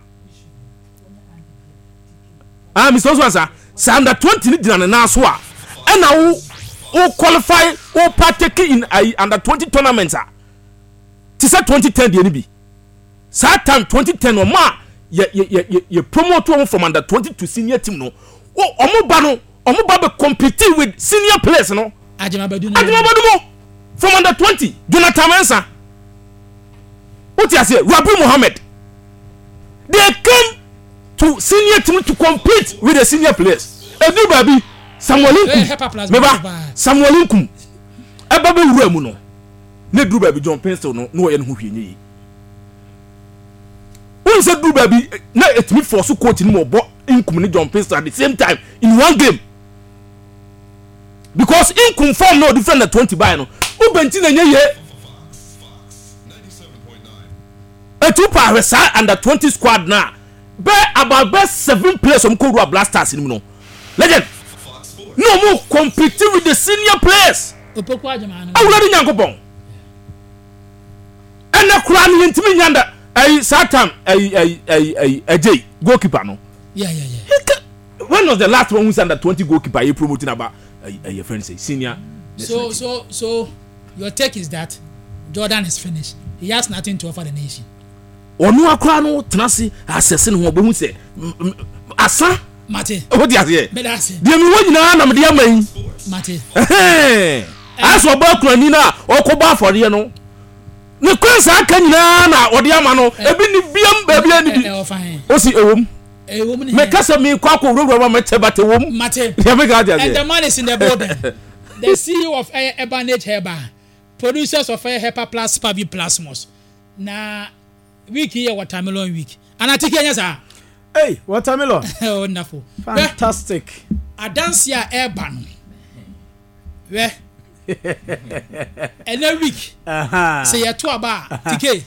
ah Mister Osu ansa sɛ under twenty gyina ne nan so a ɛna wo wo qualify wo partake in ayi under twenty tournament a te sɛ twenty ten deɛ ni bi saa time twenty ten ɔmo a yɛ yɛ yɛ yɛ promote wɔn from under twenty to senior team no ɔmo ba no ɔmo ba bɛ compete with senior players no. Ajimabadu Ajimabadu mo from under twenty Jonathan Mensah o ti ase Rabi Mohammed they came to senior team to compete with the senior players. Edu baabi Samuel Nkum meba Samuel Nkum ɛba bɛ wura mu no ne duru baabi John Pencil no na ɔyɛ ne ho hwee nye yi wọn sɛ duru baabi na etumi force coach ni mu ɔbɔ Nkum ne John Pencil at the same time in one game because Nkum form na ɔdi friend na twenty by no ubenti na nye yie etu pa ahwɛ saa under twenty squad na bɛ about bɛ seven players ɔmo kɔ wura Black Stars ni mu no legend no ɔmo compete with the senior players. Awurade Nyankopɔn ɛnɛ koraa no yɛntumi nya nda ɛyi saa time ɛyi ɛyi ɛyi ɛyi ɛgye goalkeeper no. Yeah, yeah, yeah. When was the last one who said under twenty goalkeeper yɛ promoting about ɛyi ɛyɛ friend say senior. So so so your take is that Jordan is finished. He has nothing to offer the nation. Ɔno akora no tena se asɛse ne ho ɔbɛhu sɛ asa. Mate. O ti aseɛ. Bɛda ase. Deɛ mi wɔ nyinaa na mi de ama yi. Mate. Asɔ ɔbɔ akurani na ɔkɔ bɔ afɔdeɛ no. Ne kwan saa aka nyinaa na ɔde ama no. Ebi ni biam baabi ani bi. O si ewom. Mɛ kasa mi kɔ akɔ wurawura ma mɛ kyɛ bate wom. Mate. Deɛ mi ka ati aseɛ. And the man is in the building. The C E O of Ebanage Herbal, producers of Hepa Plus Pavi Plasmos. Na week here watermelon week. And I take here sir. Hey, watermelon. Wonderful. Fantastic. Adansia Urban. We. And a week. Uh-huh. Say you two aba T K.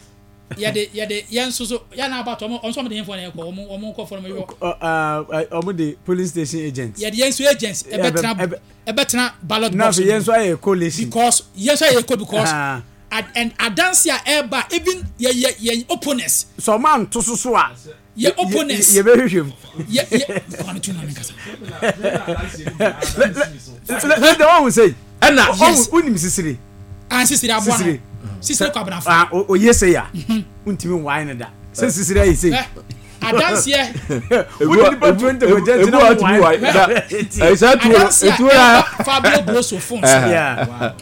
Yeah, de yeah de yeah so so yeah na about omo omo de info na ko omo omo ko for me. Uh omo de police station agents. Yeah, the yenso agents e betra e betra ballot box. Na yenso aye coalition. Because yenso aye co because uh-huh. and Adansia Eba even ye ye ye opponents. So man to so so a ye opponents. Ye be hwehwem. Ye ye kwanu tu na me kasa. Le the one who say and yes unim sisiri. Ah sisiri aboa no. Sisiri kwa brafo. Ah o ye say ya. Untimi wine da. Se sisiri ayi say. Adansia. Uni nipa twenty ko je na wine. Eh sa tu etu ya Fabio Grosso phones. Yeah.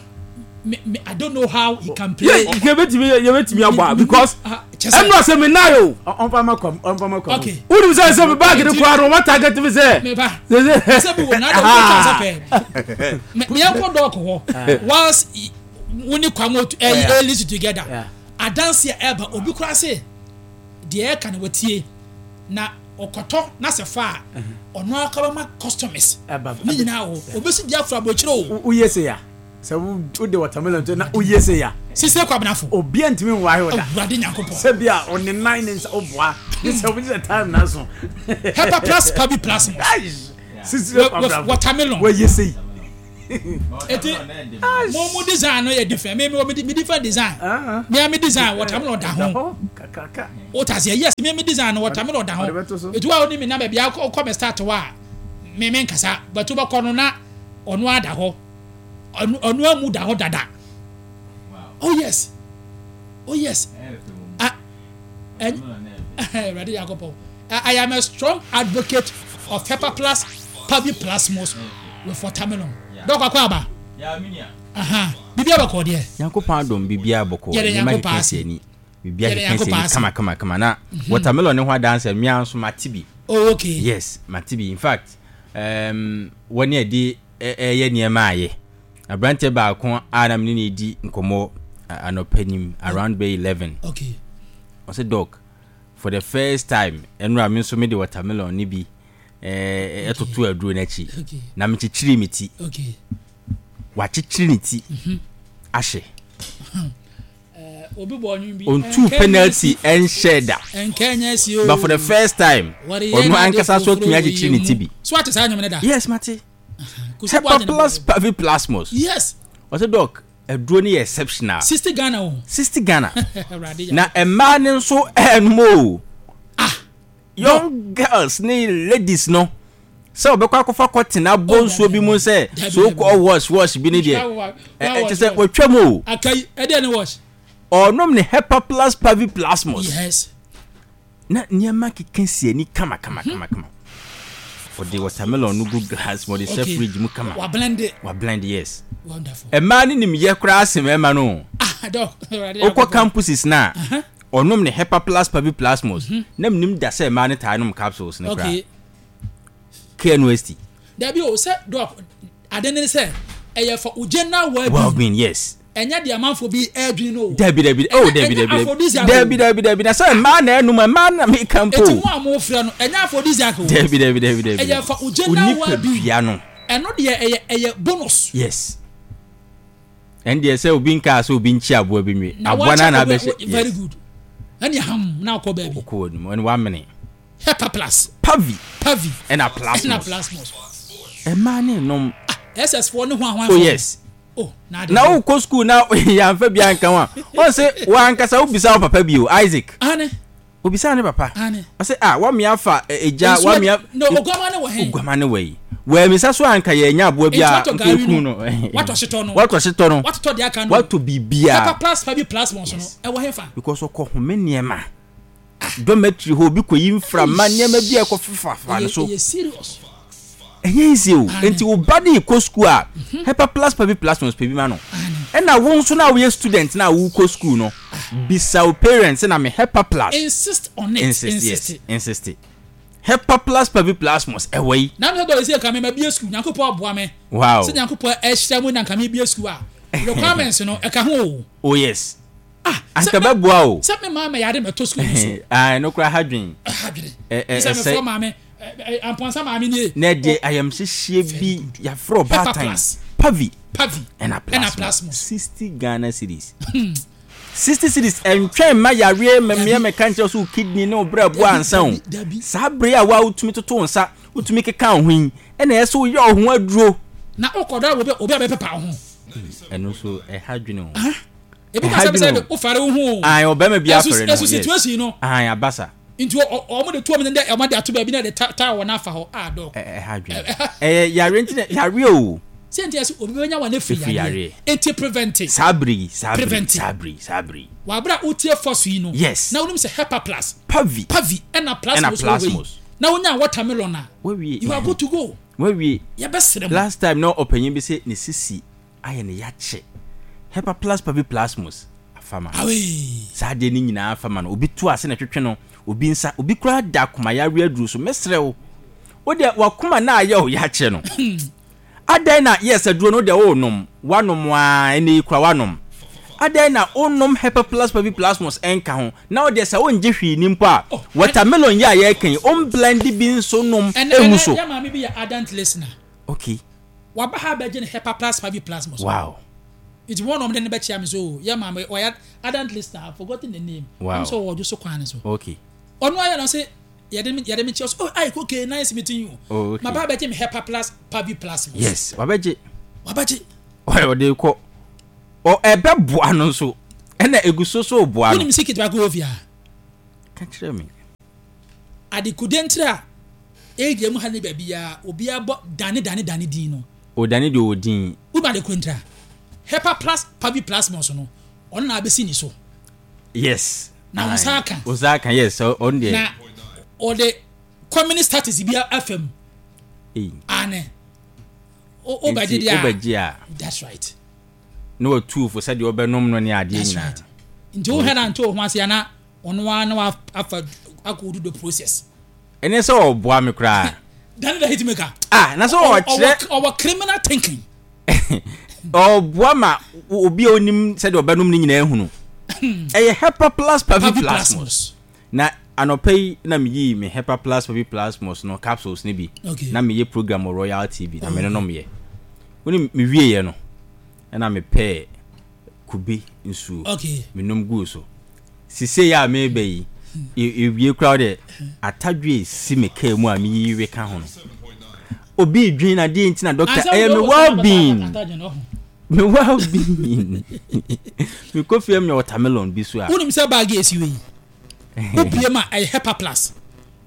Me, me, I don't know how he can play. Yeah, you bet me, you bet me about because I'm not saying now. On pa ma kom, on pa ma kom. Okay. Who do say say me bag the kwa no target me say. Me ba. Say we na do chance pe. Me me yanko dog ho. Once we ni kwamo eh listen together. Adansia eba obi kura say de e kan watie na okoto na se fa ono akaba ma customers. Ni nyina o obi si dia afra bo chiro o. O yes ya. So wo de watermelon to na oye se ya. Sise kwa benafo. Obi antimi nwa he oda. Awurade Nyankopɔn. Se bia on the nine nsa oboa. This is the time na so. Hepa plus pabi plus. Sise kwa benafo. Watermelon. Wo ye se. Eti mo mo design no yɛ different. Me me me different design. Me me design watermelon da ho. O ta se yes, me me design no watermelon da ho. Etu a oni me na ba bia kɔ me start wa. Me me nkasa, but wo bɛkɔ no na ɔno ada hɔ. Ɔno amu da hɔ dada. Oh yes. Oh yes. Ah, and Ready Jacopo. I am a strong advocate of Pepper Plus, Pavi Plasmos with watermelon. Dɔk akɔ aba. Aha. Bibia bɔkɔ deɛ. Nyankopɔn adom bibia bɔkɔ. Nneɛma keka si ani. Bibia keka si ani kama kama kama na watermelon ne ho adanse mmea nso mate bi. Oh okay. Yes, mate bi. In fact, um wɔne adi ɛyɛ nneɛma ayɛ. Aberante baako a na mene ne di nkɔmmɔ anɔpa nim around bay eleven. Okay. Ɔsɛ doc, for the first time ɛnura me nso me de watermelon ne bi ɛɛ ɛtoto aduro n'akyi. Na mekyekyere me ti. Okay. Wakyekyere ne ti. Ahye. Obi bɔ ɔnwom bi. On two penalty ɛnhyɛ da. But for the first time ɔno ankasa so atumi akyekyere ne ti bi. So ate saa nnwom ne da? Yes, mate. Hepa Plus Pavi Plasmos. Yes. Ɔsɛ doc, aduro no yɛ exceptional. sixty Ghana o. sixty Ghana. Na mmaa ne nso ɛnum o. Ah. Young girls ne ladies no. Sɛ ɔbɛkɔ akɔfa cotton abɔ nsuo bi mu sɛ so kɔ wash wash bi ne deɛ. Ɛ kyɛ sɛ wɔtwa mu o. Akai ɛdeɛ ne wash. Ɔnom ne Hepa Plus Pavi Plasmos. Yes. Na nneɛma keka si ani kama kama kama kama. Ɔde watermelon no gu glass mu, ɔde hyɛ fridge mu kama. Wa blend it. Wa blend, yes. Wonderful. Mmaa ne nim yɛ koraa se mmarima no. Ah, dɔk. Wokɔ campuses na ɔnom ne Hepa Plus Pavi Plasmos. Na menim da sɛ mmaa ne taa nom capsules ne koraa. Okay. K N U S T. Dabi o sɛ dɔk ade ne sɛ ɛyɛ for wo general well-being. Well-being, yes. Ɛnyɛ deɛ amanfo bi ɛredwene no o. Dabi dabi oh dabi dabi dabi dabi dabi na sɛ mmaa na ɛnum mmaa na mi ka mpo. Eti mu a mo fira no ɛnyɛ aphrodisiac o. Dabi dabi dabi dabi. Ɛyɛ for wo general well-being. Onipadua no. Ɛno deɛ ɛyɛ ɛyɛ bonus. Yes. Ɛn deɛ sɛ obi nka sɛ obi nkyi aboa bi nwe. Aboa na na abɛhyɛ. Very good. Ɛni ham na akɔ baabi. Okɔ wɔ nimu ɛni wamene. Hepa Plus. Pavi. Pavi. Ɛna Plasmos. Ɛna Plasmos. Ɛmaa ne nom. Ah, S S foɔ ne ho ahoa. Oh yes. Oh, na na wo kɔ school na yɛamfa bi anka ho a ɔn sɛ wankasa wobisa wo papa bi o Isaac. Ane. Obisa ne papa. Ane. Ɔsɛ ah wamea fa egya wamea. No oguama ne wɔ he. Oguama ne wɔ yi. Wamisa so anka yɛnya aboa bi a nka eku no. Watɔ hyetɔ no. Watɔ hyetɔ no. Watotɔ de aka no. Watɔ bibia. Papa Plus Pavi Plasmos no ɛwɔ he fa. Because ɔkɔ home nneɛma. Dormitory hɔ obi kɔ yi mframa nneɛma bi a ɛkɔ fefafa no so. Ɛyɛ serious. Ɛnyɛ easy o. Nti wo ba de kɔ school a Hepa Plus Pavi Plasmos pɛ bi ma no. Ɛna wo nso na woyɛ student na wo kɔ school no bisa wo parents na me Hepa Plus. Insist on it. Insist, yes. Insist. Hepa Plus Pavi Plasmos ɛwɔ yi. Na me sɛ dɔ esi ka me ma bie school Nyankopɔn aboa me. Wow. Sɛ Nyankopɔn ɛhyira mu na nka me bie school a requirements no ɛka ho o. Oh yes. Ah, anka bɛboa o. Sɛ me maame yare mɛtɔ school so. Ah, no kura hadwen. Hadwen. Sɛ me fɔ maame amponsa maame nie. Na de ayamhyehye bi yafrɛ ɔbaatan. Pavi. Pavi. Ɛna Plasmos. sixty Ghana cedis. sixty cedis ɛntwɛn ma yareɛ mɛmea mɛka nkyerɛ so kidney ne obrɛ boa ansa o. Saa bere a wa wotumi toto nsa, wotumi keka ho yi, ɛna ɛsɛ woyɛ wo ho aduro. Na wokɔdɔ obi obi a bɛpepa wo ho. Ɛno so ɛha dwene o. Ebi ka sɛ sɛ wofare wo ho o. Ayi ɔbɛrima bi afare no. Ɛso situation no. Ayi abasa. Nti ɔmo de tuo mi dɛ ɔmo de ato baabi na de taa wɔ n'afa hɔ a dɔk. Ɛha dwene. Ɛyɛ yare nti na yare o. Sɛ nti ɛsɛ obi bɛnya wɔn efiri yareɛ. Eti prevent. Saa bere yi saa bere yi saa bere yi saa bere yi. Wabra wotie fɔso yi no. Yes. Na wonim sɛ Hepa Plus. Pavi. Pavi ɛna Plasmos. Ɛna Plasmos. Na wonya watermelon a. Wawie. You are good to go. Wawie. Yɛbɛsrɛ mo. Last time na ɔpanyin bi sɛ ne sisi ayɛ ne yakye. Hepa Plus Pavi Plasmos afama. Awee. Saa deɛ ne nyinaa afama no obi to ase na twetwe no obi nsa obi koraa da akoma yareɛ aduru so mesrɛ wo. Wo deɛ wakoma na ayɛ o yakye no. Adɛn na yes aduro no deɛ wo nom wanom a ɛnɛ yi kora wanom. Adɛn na wo nom Hepa Plus Pavi Plasmos ɛnka ho na wo deɛ sɛ wo ngye hwee ni mpo a watermelon yi a yɛreka yi o blend bi nso nom emu so. Ɛnɛ yɛ maame bi yɛ ardent listener. Okay. Waba ha bɛgye ne Hepa Plus Pavi Plasmos. Wow. It's one of them ne bɛkyia me so yɛ maame ɔyɛ ardent listener, I've forgotten the name. Wow. I'm so wɔdwo so kwan so. Okay. Ɔno ayɛ no sɛ yɛde me yɛde me kyerɛ so oh ayi okay nice meeting you. Oh, okay. Ma ba bɛgye me Hepa Plus Pavi Plasmos. Yes, wabɛgye. Wabɛgye. Ɔde kɔ. Ɔ ɛbɛboa no nso. Ɛna egu so so boa no. Wonim secret baako wɔ fie ha? Ka kyerɛ me. Adekude ntira a area mu ha ne baabi a obiara bɔ dane dane dane din no. O dane deɛ ɔwɔ din. Wonim adekude ntira? Hepa plus Pavi Plasmos no, ɔno na abɛsi ne so. Yes. Na wo nsa aka. Wo nsa aka, yes. Ɔno deɛ. Na ɔde communist status bi afa mu. Ane. Wobɛgye deɛ a. Wobɛgye a. That's right. Na watu fo sɛdeɛ ɔbɛnom no ne adeɛ That's nyinaa. right. Nti wohwɛ na nto wo ho ase ana ɔno ara na wafa akɔdu the process. Ɛne sɛ ɔboa me koraa. Dane the hitmaker. Ah, na sɛ ɔkyerɛ. Ɔwɔ criminal thinking. Ɔboa ma obi a onim sɛdeɛ ɔbɛnom no nyinaa hunu. Ɛyɛ Hepa Plus Pavi Plasmos. Na anɔpa yi na meyii me Hepa Plus Pavi Plasmos no capsules no bi. Okay. Na meyɛ program wɔ Royal T V na me nonom yɛ. Wonim mewieɛ no ɛna mepɛɛ kube nsuo. Okay. Menom guu so. Sisei a meba yi ewie koraa de atadwe esi me kaa mu a meyiyi we ka ho no. Obi dwen na deɛ nti na doctor ɛyɛ me well being. Me well being. Me kɔ fie me watermelon bi so a. Wonim sɛ bag esi wei. Wobie ma ɛyɛ Hepa Plus.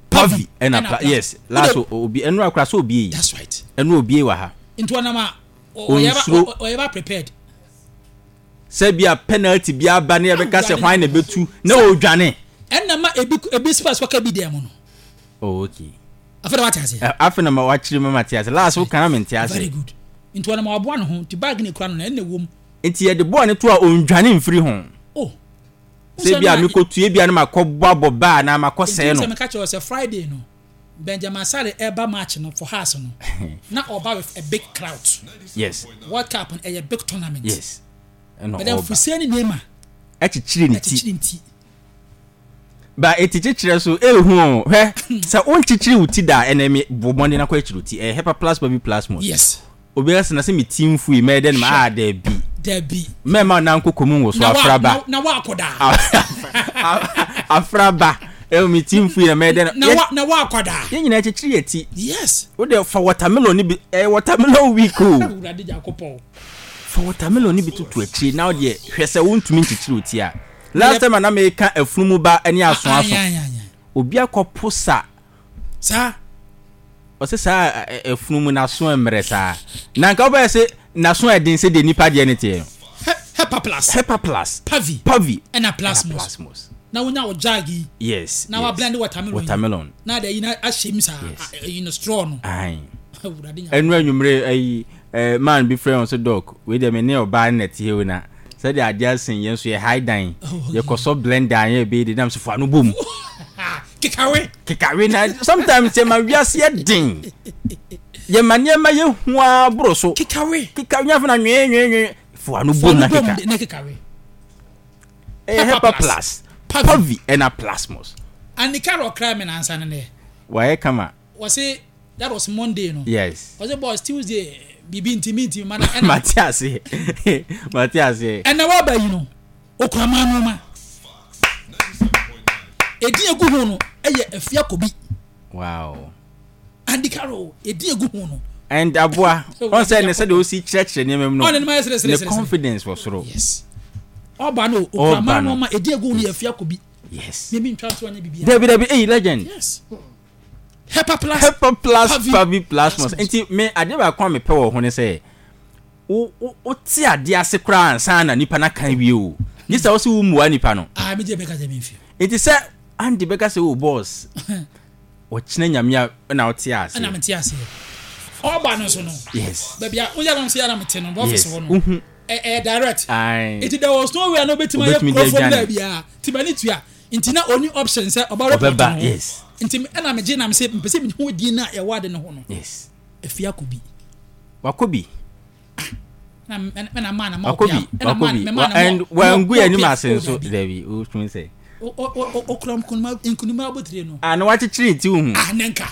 Pavi ɛna pla yes last obi ɛnu akora so obi yi. That's right. Ɛnu obi wɔ ha. Nti ɔnam a ɔyɛ ɔyɛ ba prepared. Sɛ bi a penalty bi aba ne yɛbɛka sɛ hwan na ɛbɛtu na ɔdwane. Ɛna ma ebi ebi spa so ka bi dɛm no. Oh okay. Afei na wate ase. Afei na ma wakyerɛ mu ma te ase. Last wo kana me nte ase. Very good. Nti ɔnam aboa ne ho nti bag ne kura no na ɛna ɛwɔ mu. Nti yɛde bɔɔl ne to a ɔndwane mfiri ho. Oh. Sɛ bi a mekɔtue bi a na makɔ bɔ abɔ baa na makɔ sɛɛ no. Nti sɛ meka kyerɛ sɛ Friday no Benjamin Asare ɛba match no for house no na ɔba with a big crowd. Yes. World Cup no ɛyɛ big tournament. Yes. Ɛna ɔba. But Fuseni Neymar ɛkyekyere ne ti. Ɛkyekyere ne ti. Ba eti kyekyere so ehu o hwɛ sɛ o nkyekyere wo ti da ɛnɛ mi bɔ mmɔden akɔ akyiri wo ti ɛyɛ Hepa Plus Baby Plus mo. Yes. Obi ɛsɛ na sɛ mi ti nfu yi mɛyɛ dɛ no ma a dɛbi. Dɛbi. Mɛma nan koko mu wɔ so afraba. Na wa akɔda. Afraba. Ɛwɔ mi ti nfu yi na mɛyɛ dɛ no. Na wa na wa akɔda. Yɛn nyinaa kyekyere yɛ ti. Yes. O de fa watermelon ni bi ɛyɛ watermelon week o. Awurade Nyankopɔn. Fa watermelon ni bi tutu akyire na o deɛ hwɛ sɛ o ntumi nkyekyere o ti a. Last time na meka afunumu ba ne aso aso. Obi akɔpo sa. Saa. Ɔsɛ saa afunumu na aso mmerɛ saa. Na nka wobɛyɛ sɛ n'aso ɛden sɛ deɛ nipa deɛ ne teɛ. Hepa Plus. Hepa Plus. Pavi. Pavi. Ɛna Plasmos. Plasmos. Na wonya wo jag yi. Yes. Na wa blend watermelon. Watermelon. Na de yi na ahyɛ mu saa. Yi no straw no. Ayi. Ɛnu anwummerɛ ayi man bi frɛ wɔn sɛ doc wei deɛ me ne ɔbaa ne na te hɛ na. Sɛdeɛ adeɛ asen yɛn nso yɛ high dan yɛkɔsɔ blender yɛ bɛyɛ de nam so fo ano bom kekawe kekawe na sometimes yɛ ma wiase yɛ den yɛ ma nneɛma yɛ hua boro so kekawe kekawe nyafo na nwee nwee nwee fo ano bom na keka na kekawe ɛyɛ Hepa Plus Pavi ɛna Plasmos anika rɔ kra mi na ansa ne ne wayɛ kama wɔsi that was Monday no yes wɔsi boss Tuesday bibi ntimi ntimi mana ɛna mate ase mate ase ɛna waba yi no okura maa no ma edi egu ho no ɛyɛ Afia Kobi. Wow. Andy Carroll edi egu ho no and aboa ɔn sɛ ne sɛ de osi kyerɛkyerɛ nneɛma mu no ɔne ne ma yɛ sere sere ne confidence wɔ soro. Yes. Ɔba no okura maa no ma edi egu ho no yɛ Afia Kobi. Yes. Mímí ntwa so ɔnyɛ bibi. Dabi dabi eyi legend. Yes. Hepa Plus. Hepa Plus Pavi Plasmos. Nti me ade baako a mepɛ wɔ ho ne sɛ wo wo te ade ase koraa ansa na nipa na kan wie o. Gye sɛ wo se wo mua nipa no. Ah me gye bɛka sɛ me mfi. Nti sɛ Andy bɛka sɛ o boss. Ɔkyena nyame a na wote ase. Na mete ase. Ɔba no so no. Yes. Baabi a wo yɛ no so yɛ na mete no office hɔ no. Uhu. Eh direct. Aye. Nti there was no way na obetumi ayɛ kurofo baabi a. Ti mani tua. Nti na only option sɛ ɔba report no. Yes. Nti ɛna megye na mese mpɛ sɛ mehu din na ɛwɔ ade no ho no. Yes. Afia Kobi. Wakobi. Na na ma na ma Wakobi. Wakobi. And wangu yɛ anim ase nso dabi o tun sɛ. O o o kura nkunuma nkunuma abotire no. Ah na wakyekyere ti hu. Ah ne nka.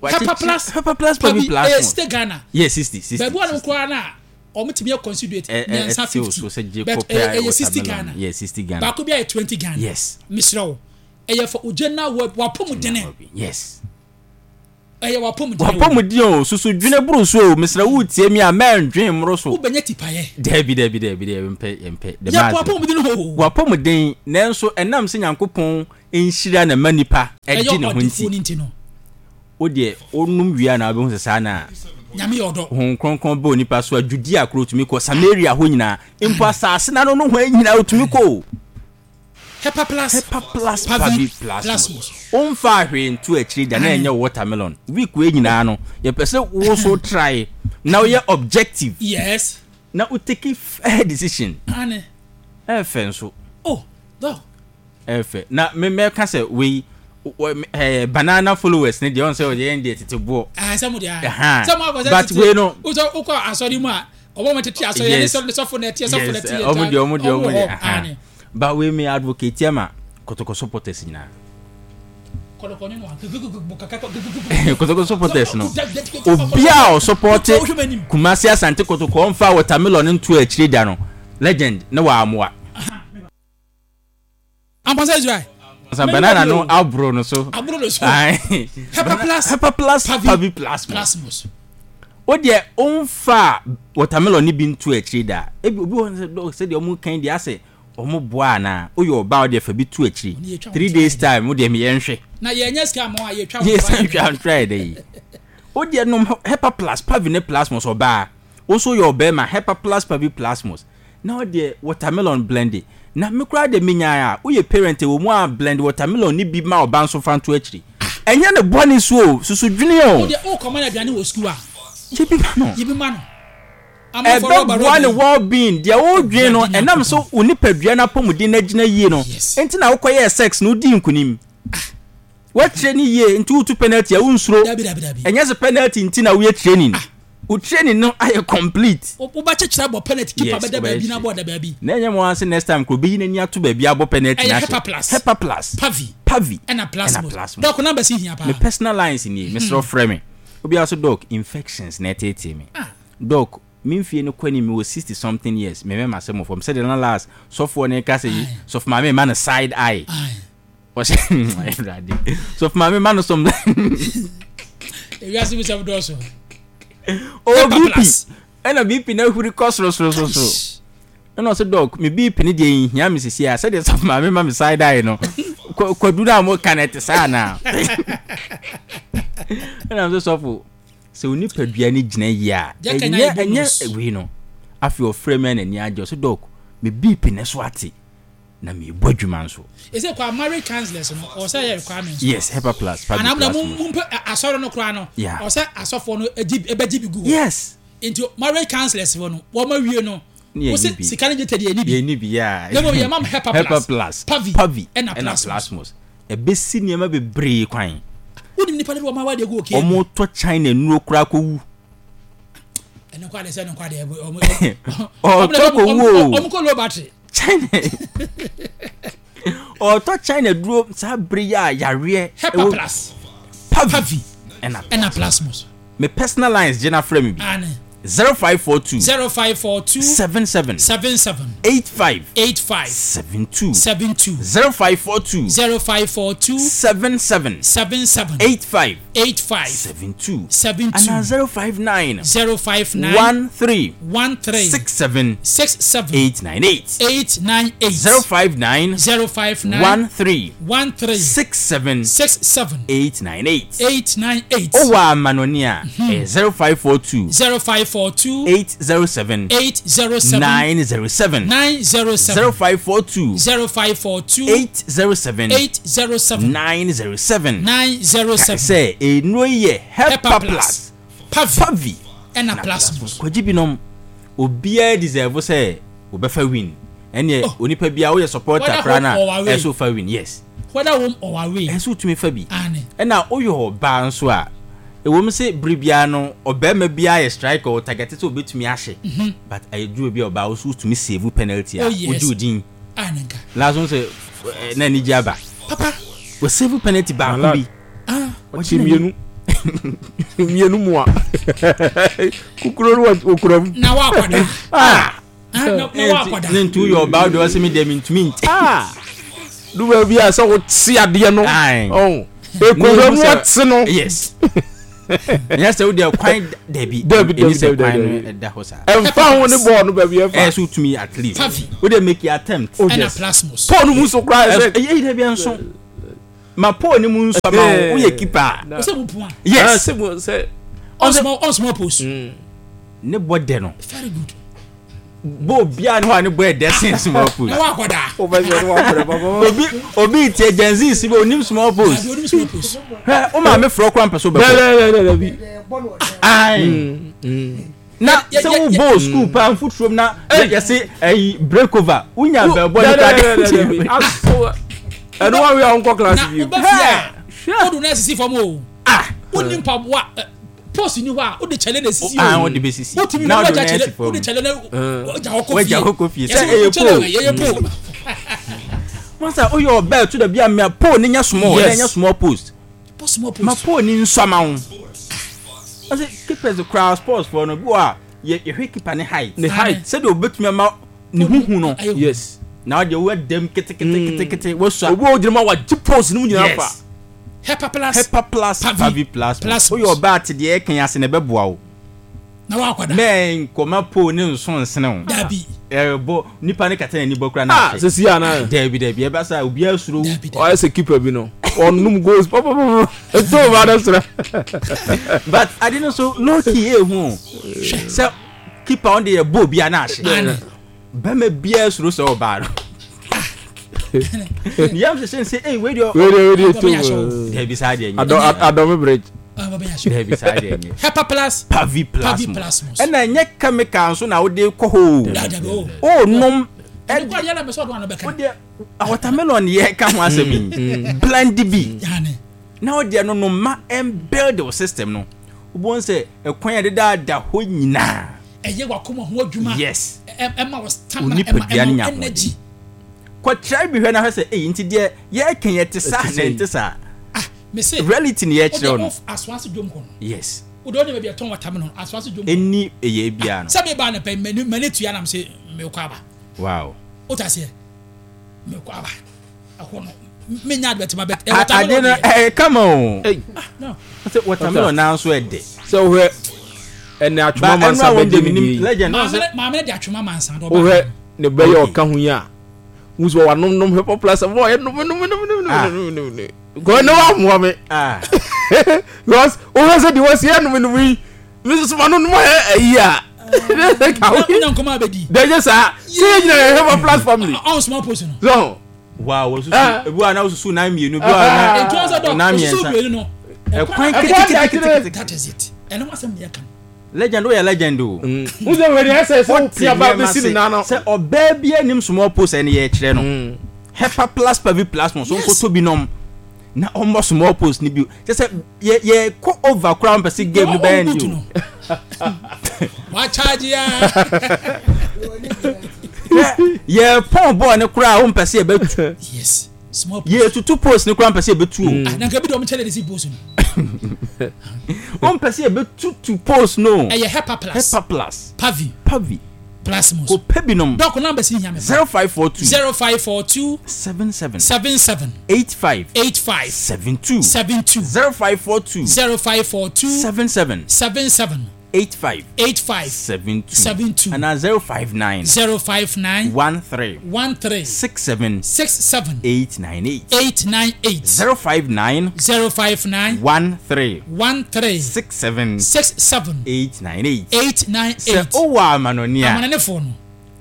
Hepa Plus. Hepa Plus Pavi Plus. Eh sixty Ghana. Yes sixty sixty. Baabi wɔn koraa na wɔn tumi yɛ considerate mmiɛnsa fifty. But ɛyɛ sixty Ghana. Yes sixty Ghana. Baako bi ayɛ twenty Ghana. Yes. Mesrɛ wo. Ɛyɛ for ojena wɔ wapɔ mu dene. Yes. Ɛyɛ wapɔmuden. Wapɔmuden o, susu dwene boro so o, mesrɛ wo tie mi a mɛndwen mmoro so. Wobɛnya tipaeɛ. Dabi dabi dabi dabi mpɛ mpɛ. Yɛ wapɔmuden o. Wapɔmuden nanso ɛnam sɛ Nyankopɔn nhyira na ma nipa ɛgye ne ho nti. No. Wo deɛ wonum wie a na wobɛhu sɛ saa na Nyame yɛ ɔdɔ. Honhom Kronkron bɛ onipa so a Judea koro tumi kɔ, Samaria hɔ nyinaa, mpo asase no ano nohoa nyinaa otumi kɔ o. Hepa plus, Hepa plus, Pavi plasmos. Womfaa hwee nto akyiri da na ɛnyɛ watermelon. Week wei nyinaa no, yɛpɛ sɛ wo so try na woyɛ objective. Yes. Na wo take fair decision. Ane. Ɛfɛ nso. Oh, dog. Ɛfɛ. Na me mɛka sɛ wei eh, banana followers ne deɛ ɔn sɛ ɔyɛ yɛn deɛ tete boɔ. Ah, sɛ mo deɛ. Sɛ mo akɔ sɛ tete. But wei no. Wosɔ wokɔ asɔre mu a, ɔbɔ mo tete asɔre yɛn ne sɔfo na ɛteɛ sɔfo na ɛteɛ. Ɔmo deɛ ɔmo deɛ ɔmo deɛ. But wei me advocate ama Kotoko supporters nyinaa. Kotoko supporters no. Obi a ɔsupporte Kumasi Asante Kotoko ɔmfa watermelon nto akyire da no. Legend ne wa amoa. Amponsa Israel. Amponsa banana no abro no so. Abro no so. Hepa plus. Hepa plus Pavi plasmos. O deɛ ɔmfa watermelon ni bi nto akyire da. Ebi obi wɔ sɛ dɔg sɛ deɛ ɔmo kan deɛ asɛ ɔmo boa anaa. Oyɛ ɔbaa ɔdeɛ fa bi to akyire. Three days time o deɛ meyɛ nhwɛ. Na yɛnyɛ sika mo a yɛtwa. Yɛ sɛ ntwa ntwa yɛ dɛ yi. O deɛ nom Hepa plus Pavi ne plasmos ɔbaa. O nso yɛ ɔbɛrima Hepa plus Pavi plasmos. Na ɔdeɛ watermelon blende. Na me koraa deɛ menyae a, woyɛ parent ɛwɔ mu a blend watermelon no bi ma ɔba nso fa nto akyiri. Ɛnyɛ ne bɔne so o, susu dwene o. Wo deɛ wokɔma no aduane wɔ sukuu a, Yɛ bi ma no. Yɛ bi ma no. Amanfoɔ rɔba Ɛbɛboa rɔba ne yi. well being. Deɛ wodwene no, Awurade ɛnam sɛ Nyankopɔn. wo nipadua no apɔmuden no agyina yie no Yes. nti na wokɔyɛɛ sex no wodii nkunim. Woakyerɛ no yie nti wotu penalty a wonsuro. Dabi dabi dabi. Ɛnyɛ sɛ penalty nti na woyɛ training. Wo training no ayɛ complete. Wobɛkyekyere abɔ penalty keeper Yes, bɛda baabi na wobɛyɛ abɔ da baabi. Na ɛnyɛ mo ara sɛ next time koro obeyi n'ani ato baabi abɔ penalty Ɛyɛ no ahyɛ. Hepa plus. Hepa plus. Pavi. Pavi. Ɛna plasmos. Ɛna plasmos. Doc numbers yi hia paa. Me personal lines nie, mesrɛ wo frɛ me. Obiara so doc infections na ɛteetee me. Ah. Doc, me mfie no kɔ anim mewɔ sixty something years, me mɛma sɛ mɔfam sɛdeɛ na last sɔfoɔ no reka sɛ yi, sɔfo maame ma no side eye. Aye. Ɔhyɛ Awurade. Sɔfo maame ma no some. Ewiase mu sɛm dɔɔso. Oh, B P. Ɛna B P na ahuri kɔ soro soro soro soro. Ɛna ɔsɛ dɔk, me B P ne deɛ nhia me sisi a sɛdeɛ sɔfo maame ma me side eye no. Kwadu no a mo ka no ɛte saa anaa? Ɛna ɔsɛ sɔfo sɛ wo nipadua no gyina yie a ɛnyɛ ɛnyɛ wei no. Afei ɔfrɛ me a n'ani agye ɔsɛ dɔk, me B P ne so ate. Na mi bɔ adwuma nso. Ese kwa marriage counselors no ɔsɛ yɛ requirements. Yes, Hepa plus. Ana na mu mu mpɛ asɔre no koraa no. Yeah. Ɔsɛ asɔfoɔ no egyi ebɛgye bi gu hɔ. Yes. Nti marriage counselors fo no wɔn awie no. Wɔsi sika ne gye tɛ deɛ yɛ ni bi. Yɛ ni bi yaa. Na mo yɛ mam Hepa plus. Hepa plus. Pavi. Pavi. Ɛna ɛna plasmos. Ɛbɛsi nneɛma bebree kwan. Wonim nipa de wɔn awa de gu okie. Wɔn tɔ China nnuro koraa kɔ wu. Ɛno kwa de sɛ ɛno kwa de ɔmo. Ɔtɔ kɔ wu o. Ɔmo kɔ low battery. China ɔtɔ China duro saa bere yi a yareɛ Hepa plus Pavi ɛna ɛna plasmos. Me personal lines gyina frɛ me bi. Ane. zero five four two zero five four two seven seven seven seven eight five eight five seven two seven two zero five four two zero five four two seven seven seven seven eight five eight five seven two seven two and zero five nine zero five nine one three one three six seven six seven eight nine eight eight nine eight zero five nine zero five nine one three one three six seven six seven eight nine eight eight nine eight. Owa Manonia zero five four two zero five four two eight zero seven eight zero seven nine zero seven nine zero seven zero five four two zero five four two eight zero seven eight zero seven nine zero seven nine zero seven. Sɛ enu yɛ Hepa plus Pavi ɛna plasmos. Kwagye binom obiara deserve sɛ obɛfa win. Ɛnneɛ onipa biara woyɛ supporter koraa na ɛso fa win yes. Whether home or away. Ɛso tumi fa bi. Ɛna woyɛ ɔbaa nso a ɛwɔ mu sɛ bere biara no ɔbarima biara yɛ striker ɔ target sɛ obetumi ahyɛ. But ɛduru bi a ɔbaa wo tumi save penalty a Oh, yes. wogye wo din. Anenka. Last one sɛ na anigye aba. Papa. Wɔ save penalty baako bi. Ah. Ɔkye mmienu. Mmienu mu a. Kukuro no wɔ okura mu. Na wakɔda. Ah. Ah, na na wakɔda. Ne ntu yɛ ɔbaa deɛ ɔsɛ mi deɛ mi ntumi nti. Ah. Du baabi a sɛ wote adeɛ no. Aye. Ɔn. Ekura mu ɔte no. Yes. Nyɛ sɛ wode kwan dabi. Dabi, ɛni sɛ dabi, kwan dabi. no ɛda hɔ saa. Ɛmfa ho ne bɔɔl no baabi Ɛyɛ ɛfa. sɛ wotumi at least. Pavi. Wode make your attempt. Oh, Ɛna yes. plasmos. Paul no mu so koraa Ɛso- sɛ. ɛyɛ yi dabi nso. Ma pole ne mu nso ama wo woyɛ keeper a. Ɔsɛ mu pua. Yes. Sɛ mu sɛ. On small on small post. Ne bɔ dɛ no. Very good. Bɔ obiara ne hɔ a ne bɔ ɛdɛ sen small post. Na wakɔ daa. O bɛ sɛ ɔno wa pɛrɛ papa. Obi obi tie Gen Z si bi onim small post. Dabi onim small post. Hwɛ o maame frɔ kora mpɛ so bɛkɔ. Dɛbi dɛbi dɛbi. Ayi. Na Yɛ- sɛ yɛ- wo yɛ- bɔ school paa nfuturom na yɛse ɛyi break over wonya bɛbɔ ne Dɛbi dɛbi kora dɛbi. Ɛnu wa wi a nkɔ class Na bi. wobɛ fie a wodu na esisi fam o. Wonni mpaboa ɛ, post ni hɔ a wode kyɛlɛ na esisi Ah, o. wode bɛsisi. Wotumi Na na wode wagya na kyɛlɛ esi fam. wode kyɛlɛ na wagya hɔ kɔ fie. Wagya hɔ kɔ fie. Yɛsɛ Sɛ ɛyɛ wo kyɛlɛ pole. wɔ, ɛyɛ pole. Masa woyɛ ɔbaa tu da bi a mea pole ne nya small Yes. ne nya small post. Post small Ma post. pole ne nso ama wo. Ɔsɛ keepers koraa sports foɔ no bi wɔ a yɛ yɛhwɛ keeper ne height. Ne height. Sɛdeɛ obetumi ama ne huhu no. Ayɛ hu. Yes. Na ɔde wo dɛm keteketekete wasua. Obi a ogyina mu a wagye post no mu nyinaa fa. Yes. Hepa plus. Hepa plus Pavi Pavi plus. Plus. Woyɛ ɔbaa te deɛ ɛka ase na ɛbɛboa wo. Na wakɔ daa. Mɛ nkɔma pole ne nso nsene wo. Dabi. Ɛbɔ nipa ne kata n'ani bɔ kora na Ah ahwɛ. sisi ana. Dabi dabi ɛbɛ sa obiara suro wo. Dabi dabi. Ɔyɛ sɛ keeper bi no. Ɔnum goals pɔpɔpɔpɔ. Eto ba de srɛ. But ade no so low key ehu o. Sɛ keeper ɔn de yɛ bɔ obiara na ahye. Ane. Bɛrima biara suro sɛ ɔbaa no. Ne yam hyehyɛ nsɛ ɛy wei deɛ Wei de wei de Ɔbɛnya eto. ahyɛ Dabi saa deɛ nyɛ. Adɔ adɔmi bridge. Ah, wabɛnya so. Dabi saa deɛ nyɛ. Hepa plus. Pavi plus Pavi mo. plasmos. Ɛna ɛnyɛ chemical nso na wode kɔ hɔ o. Dabi dabi o. O nom Ɛno kora deɛ na mɛ sɛ ɔdo ano bɛka. wode watermelon yɛ ka ho asɛm yi. Blend bi. Yane. Na wode no no ma ɛmbuild wo system no. Wobɛhu sɛ ɛkwan a ɛdeda hɔ nyinaa. Ɛyɛ wakoma ho adwuma. Yes. Ɛ- ɛma wɔ stamina Wo ɛma nipadua no ɛma nya wo energy. Kɔkyerɛ bi hwɛ na hwɛ sɛ ɛyi nti deɛ yɛka yɛ te saa Ɛte na sɛ ɛnte saa. Ah, me se. Reality ni yɛkyerɛ wo Wode no. off asoase dwom hɔ no. Yes. Wode wode baabi a ɛtɔn watermelon asoase dwom. hɔ. Ɛni ɛyɛ biara no. Sɛ meba ne pɛ m'ani m'ani tua nam sɛ mekɔ aba. Wow. Wote aseɛ? Mekɔ aba. Ɛhɔ no menya advert ma bɛt. A- Ade no ɛyɛ kama o. Ɛy. No. Sɛ watermelon naa nso ɛdɛ. Sɛ wohwɛ ɛnɛ Ba atwoma ɛnu mansa a wɔn bɛgye de ne minim die yi. legend. Maame Ɔsɛ ne maame ne de atwoma mansa dɔ. Wohwɛ ne bɛyɛ Okay. ɔka ho yi a. Wusu wa nom nom hepa plus bɔ ɔyɛ nom nom nom nom Ah. nom nom nom. Kɔ ne wa mua mi. ah Because wohwɛ sɛ deɛ wɔsi yɛ nom nom yi. Mi soso ma nom nom ayɛ ɛyi a. Wonya nkɔmɔ abɛdi. Dɛjɛ saa. Sɛ yɛ nyina yɛ hepa plus family. Ɔn small post no. So. wow wɔsusu Ah. ebi wa na wosusu nan mmienu ebi wa Ah. na Ntu ɔsɛ dɔ nan osusu mmiɛnsa. mmienu no. Ɛkwan Ɛkwan ketekete. That is it. Ɛno asɛm ne yɛ ka no. Legend woyɛ legend o. Wusɛ wɛ deɛ ɛsɛ sɛ wopia ba bɛsi ne nan no. Sɛ ɔbaa bi anim small post ɛne yɛkyerɛ no. Hepa plus pavi plus mo so Yes. nkoto bi nom na ɔmmɔ small post ni bi kyɛ sɛ yɛ yɛ kɔ over koraa mpɛ sɛ game no bɛyɛ Ɔwɔ ndi no. o. Wakyagye ya. Yɛ yɛ pɔn bɔɔl ne koraa a wompɛ sɛ yɛbɛtu Yes. Small post. yɛ tutu post ne koraa mpɛ sɛ yɛbɛtu o. Ah, na nka bi de ɔmo kyɛlɛ de si post no. Wompɛ sɛ yɛbɛtutu post no. Ɛyɛ hepa plus. Hepa plus Pavi pavi plasmos. kò pɛ bi nom Dɔk number si hia me. zero five four two Zero five four two seven seven seven seven eight five eight five seven two seven two zero five four two zero five four two seven seven seven seven eight five eight five seven two seven two ana zero five nine zero five nine one three one three six seven six seven eight nine eight eight nine eight zero five nine zero five nine one three one three six seven six seven eight nine eight. eight nine Sɛ eight. owó amanoni a Amananefo no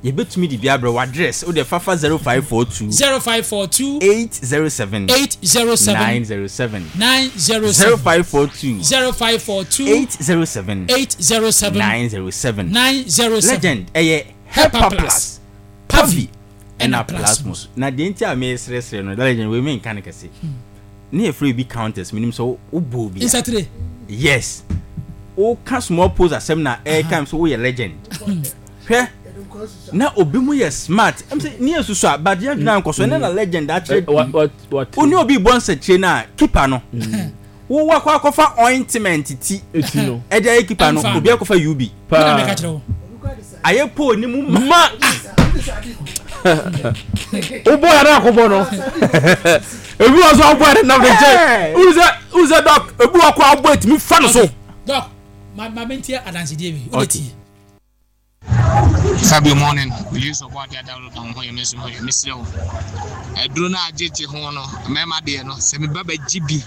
yɛbɛtumi de bi abrɛ w address o de fafa zero five four two zero five four two eight zero seven eight zero nine seven zero seven nine zero zero seven five four two zero five four two eight zero seven eight zero seven nine zero seven. nine zero seven. Legend ɛyɛ Hepa Hepa Plus, Plus Pavi ɛna ɛna Plasmos. Plasmos na deɛ nti a meresrɛsrɛ no legend wei menka no kɛse ne yɛfrɛ bi counters menim sɛ wobɔ obi a Nsatire. yes woka small post asɛm na ɛka m sɛ woyɛ legend hwɛ na obi mu yɛ smart ɛm sɛ ne yɛ susu a but yɛn adwene ankɔ so ɛne na legend akyerɛ What wo ne obi bɔ nsɛkyerɛ no a keeper no wowɔ akɔ akɔfa ointment ti Eti no. ɛde ayɛ keeper no Ɛmfa. obi akɔfa ub Ɛna mɛka kyerɛ wo. ayɛ pole ne mu ma Ma. Wobɔ yɛrɛ akɔbɔ no. Ebi wɔ so abɔ yɛrɛ nam ne nkyɛn. Wusɛ wusɛ dɔk ebi wɔ kɔ abɔ etimi fa no so. Doc, ma ma mi tie adansidie bi o de tie. Fabio morning, Use ɔbɔ adeɛ adaworo da ho yɛ me nso ho yɛ mesrɛ wo aduro no a gyegye ho no mmarima deɛ no sɛ meba bɛgye bi.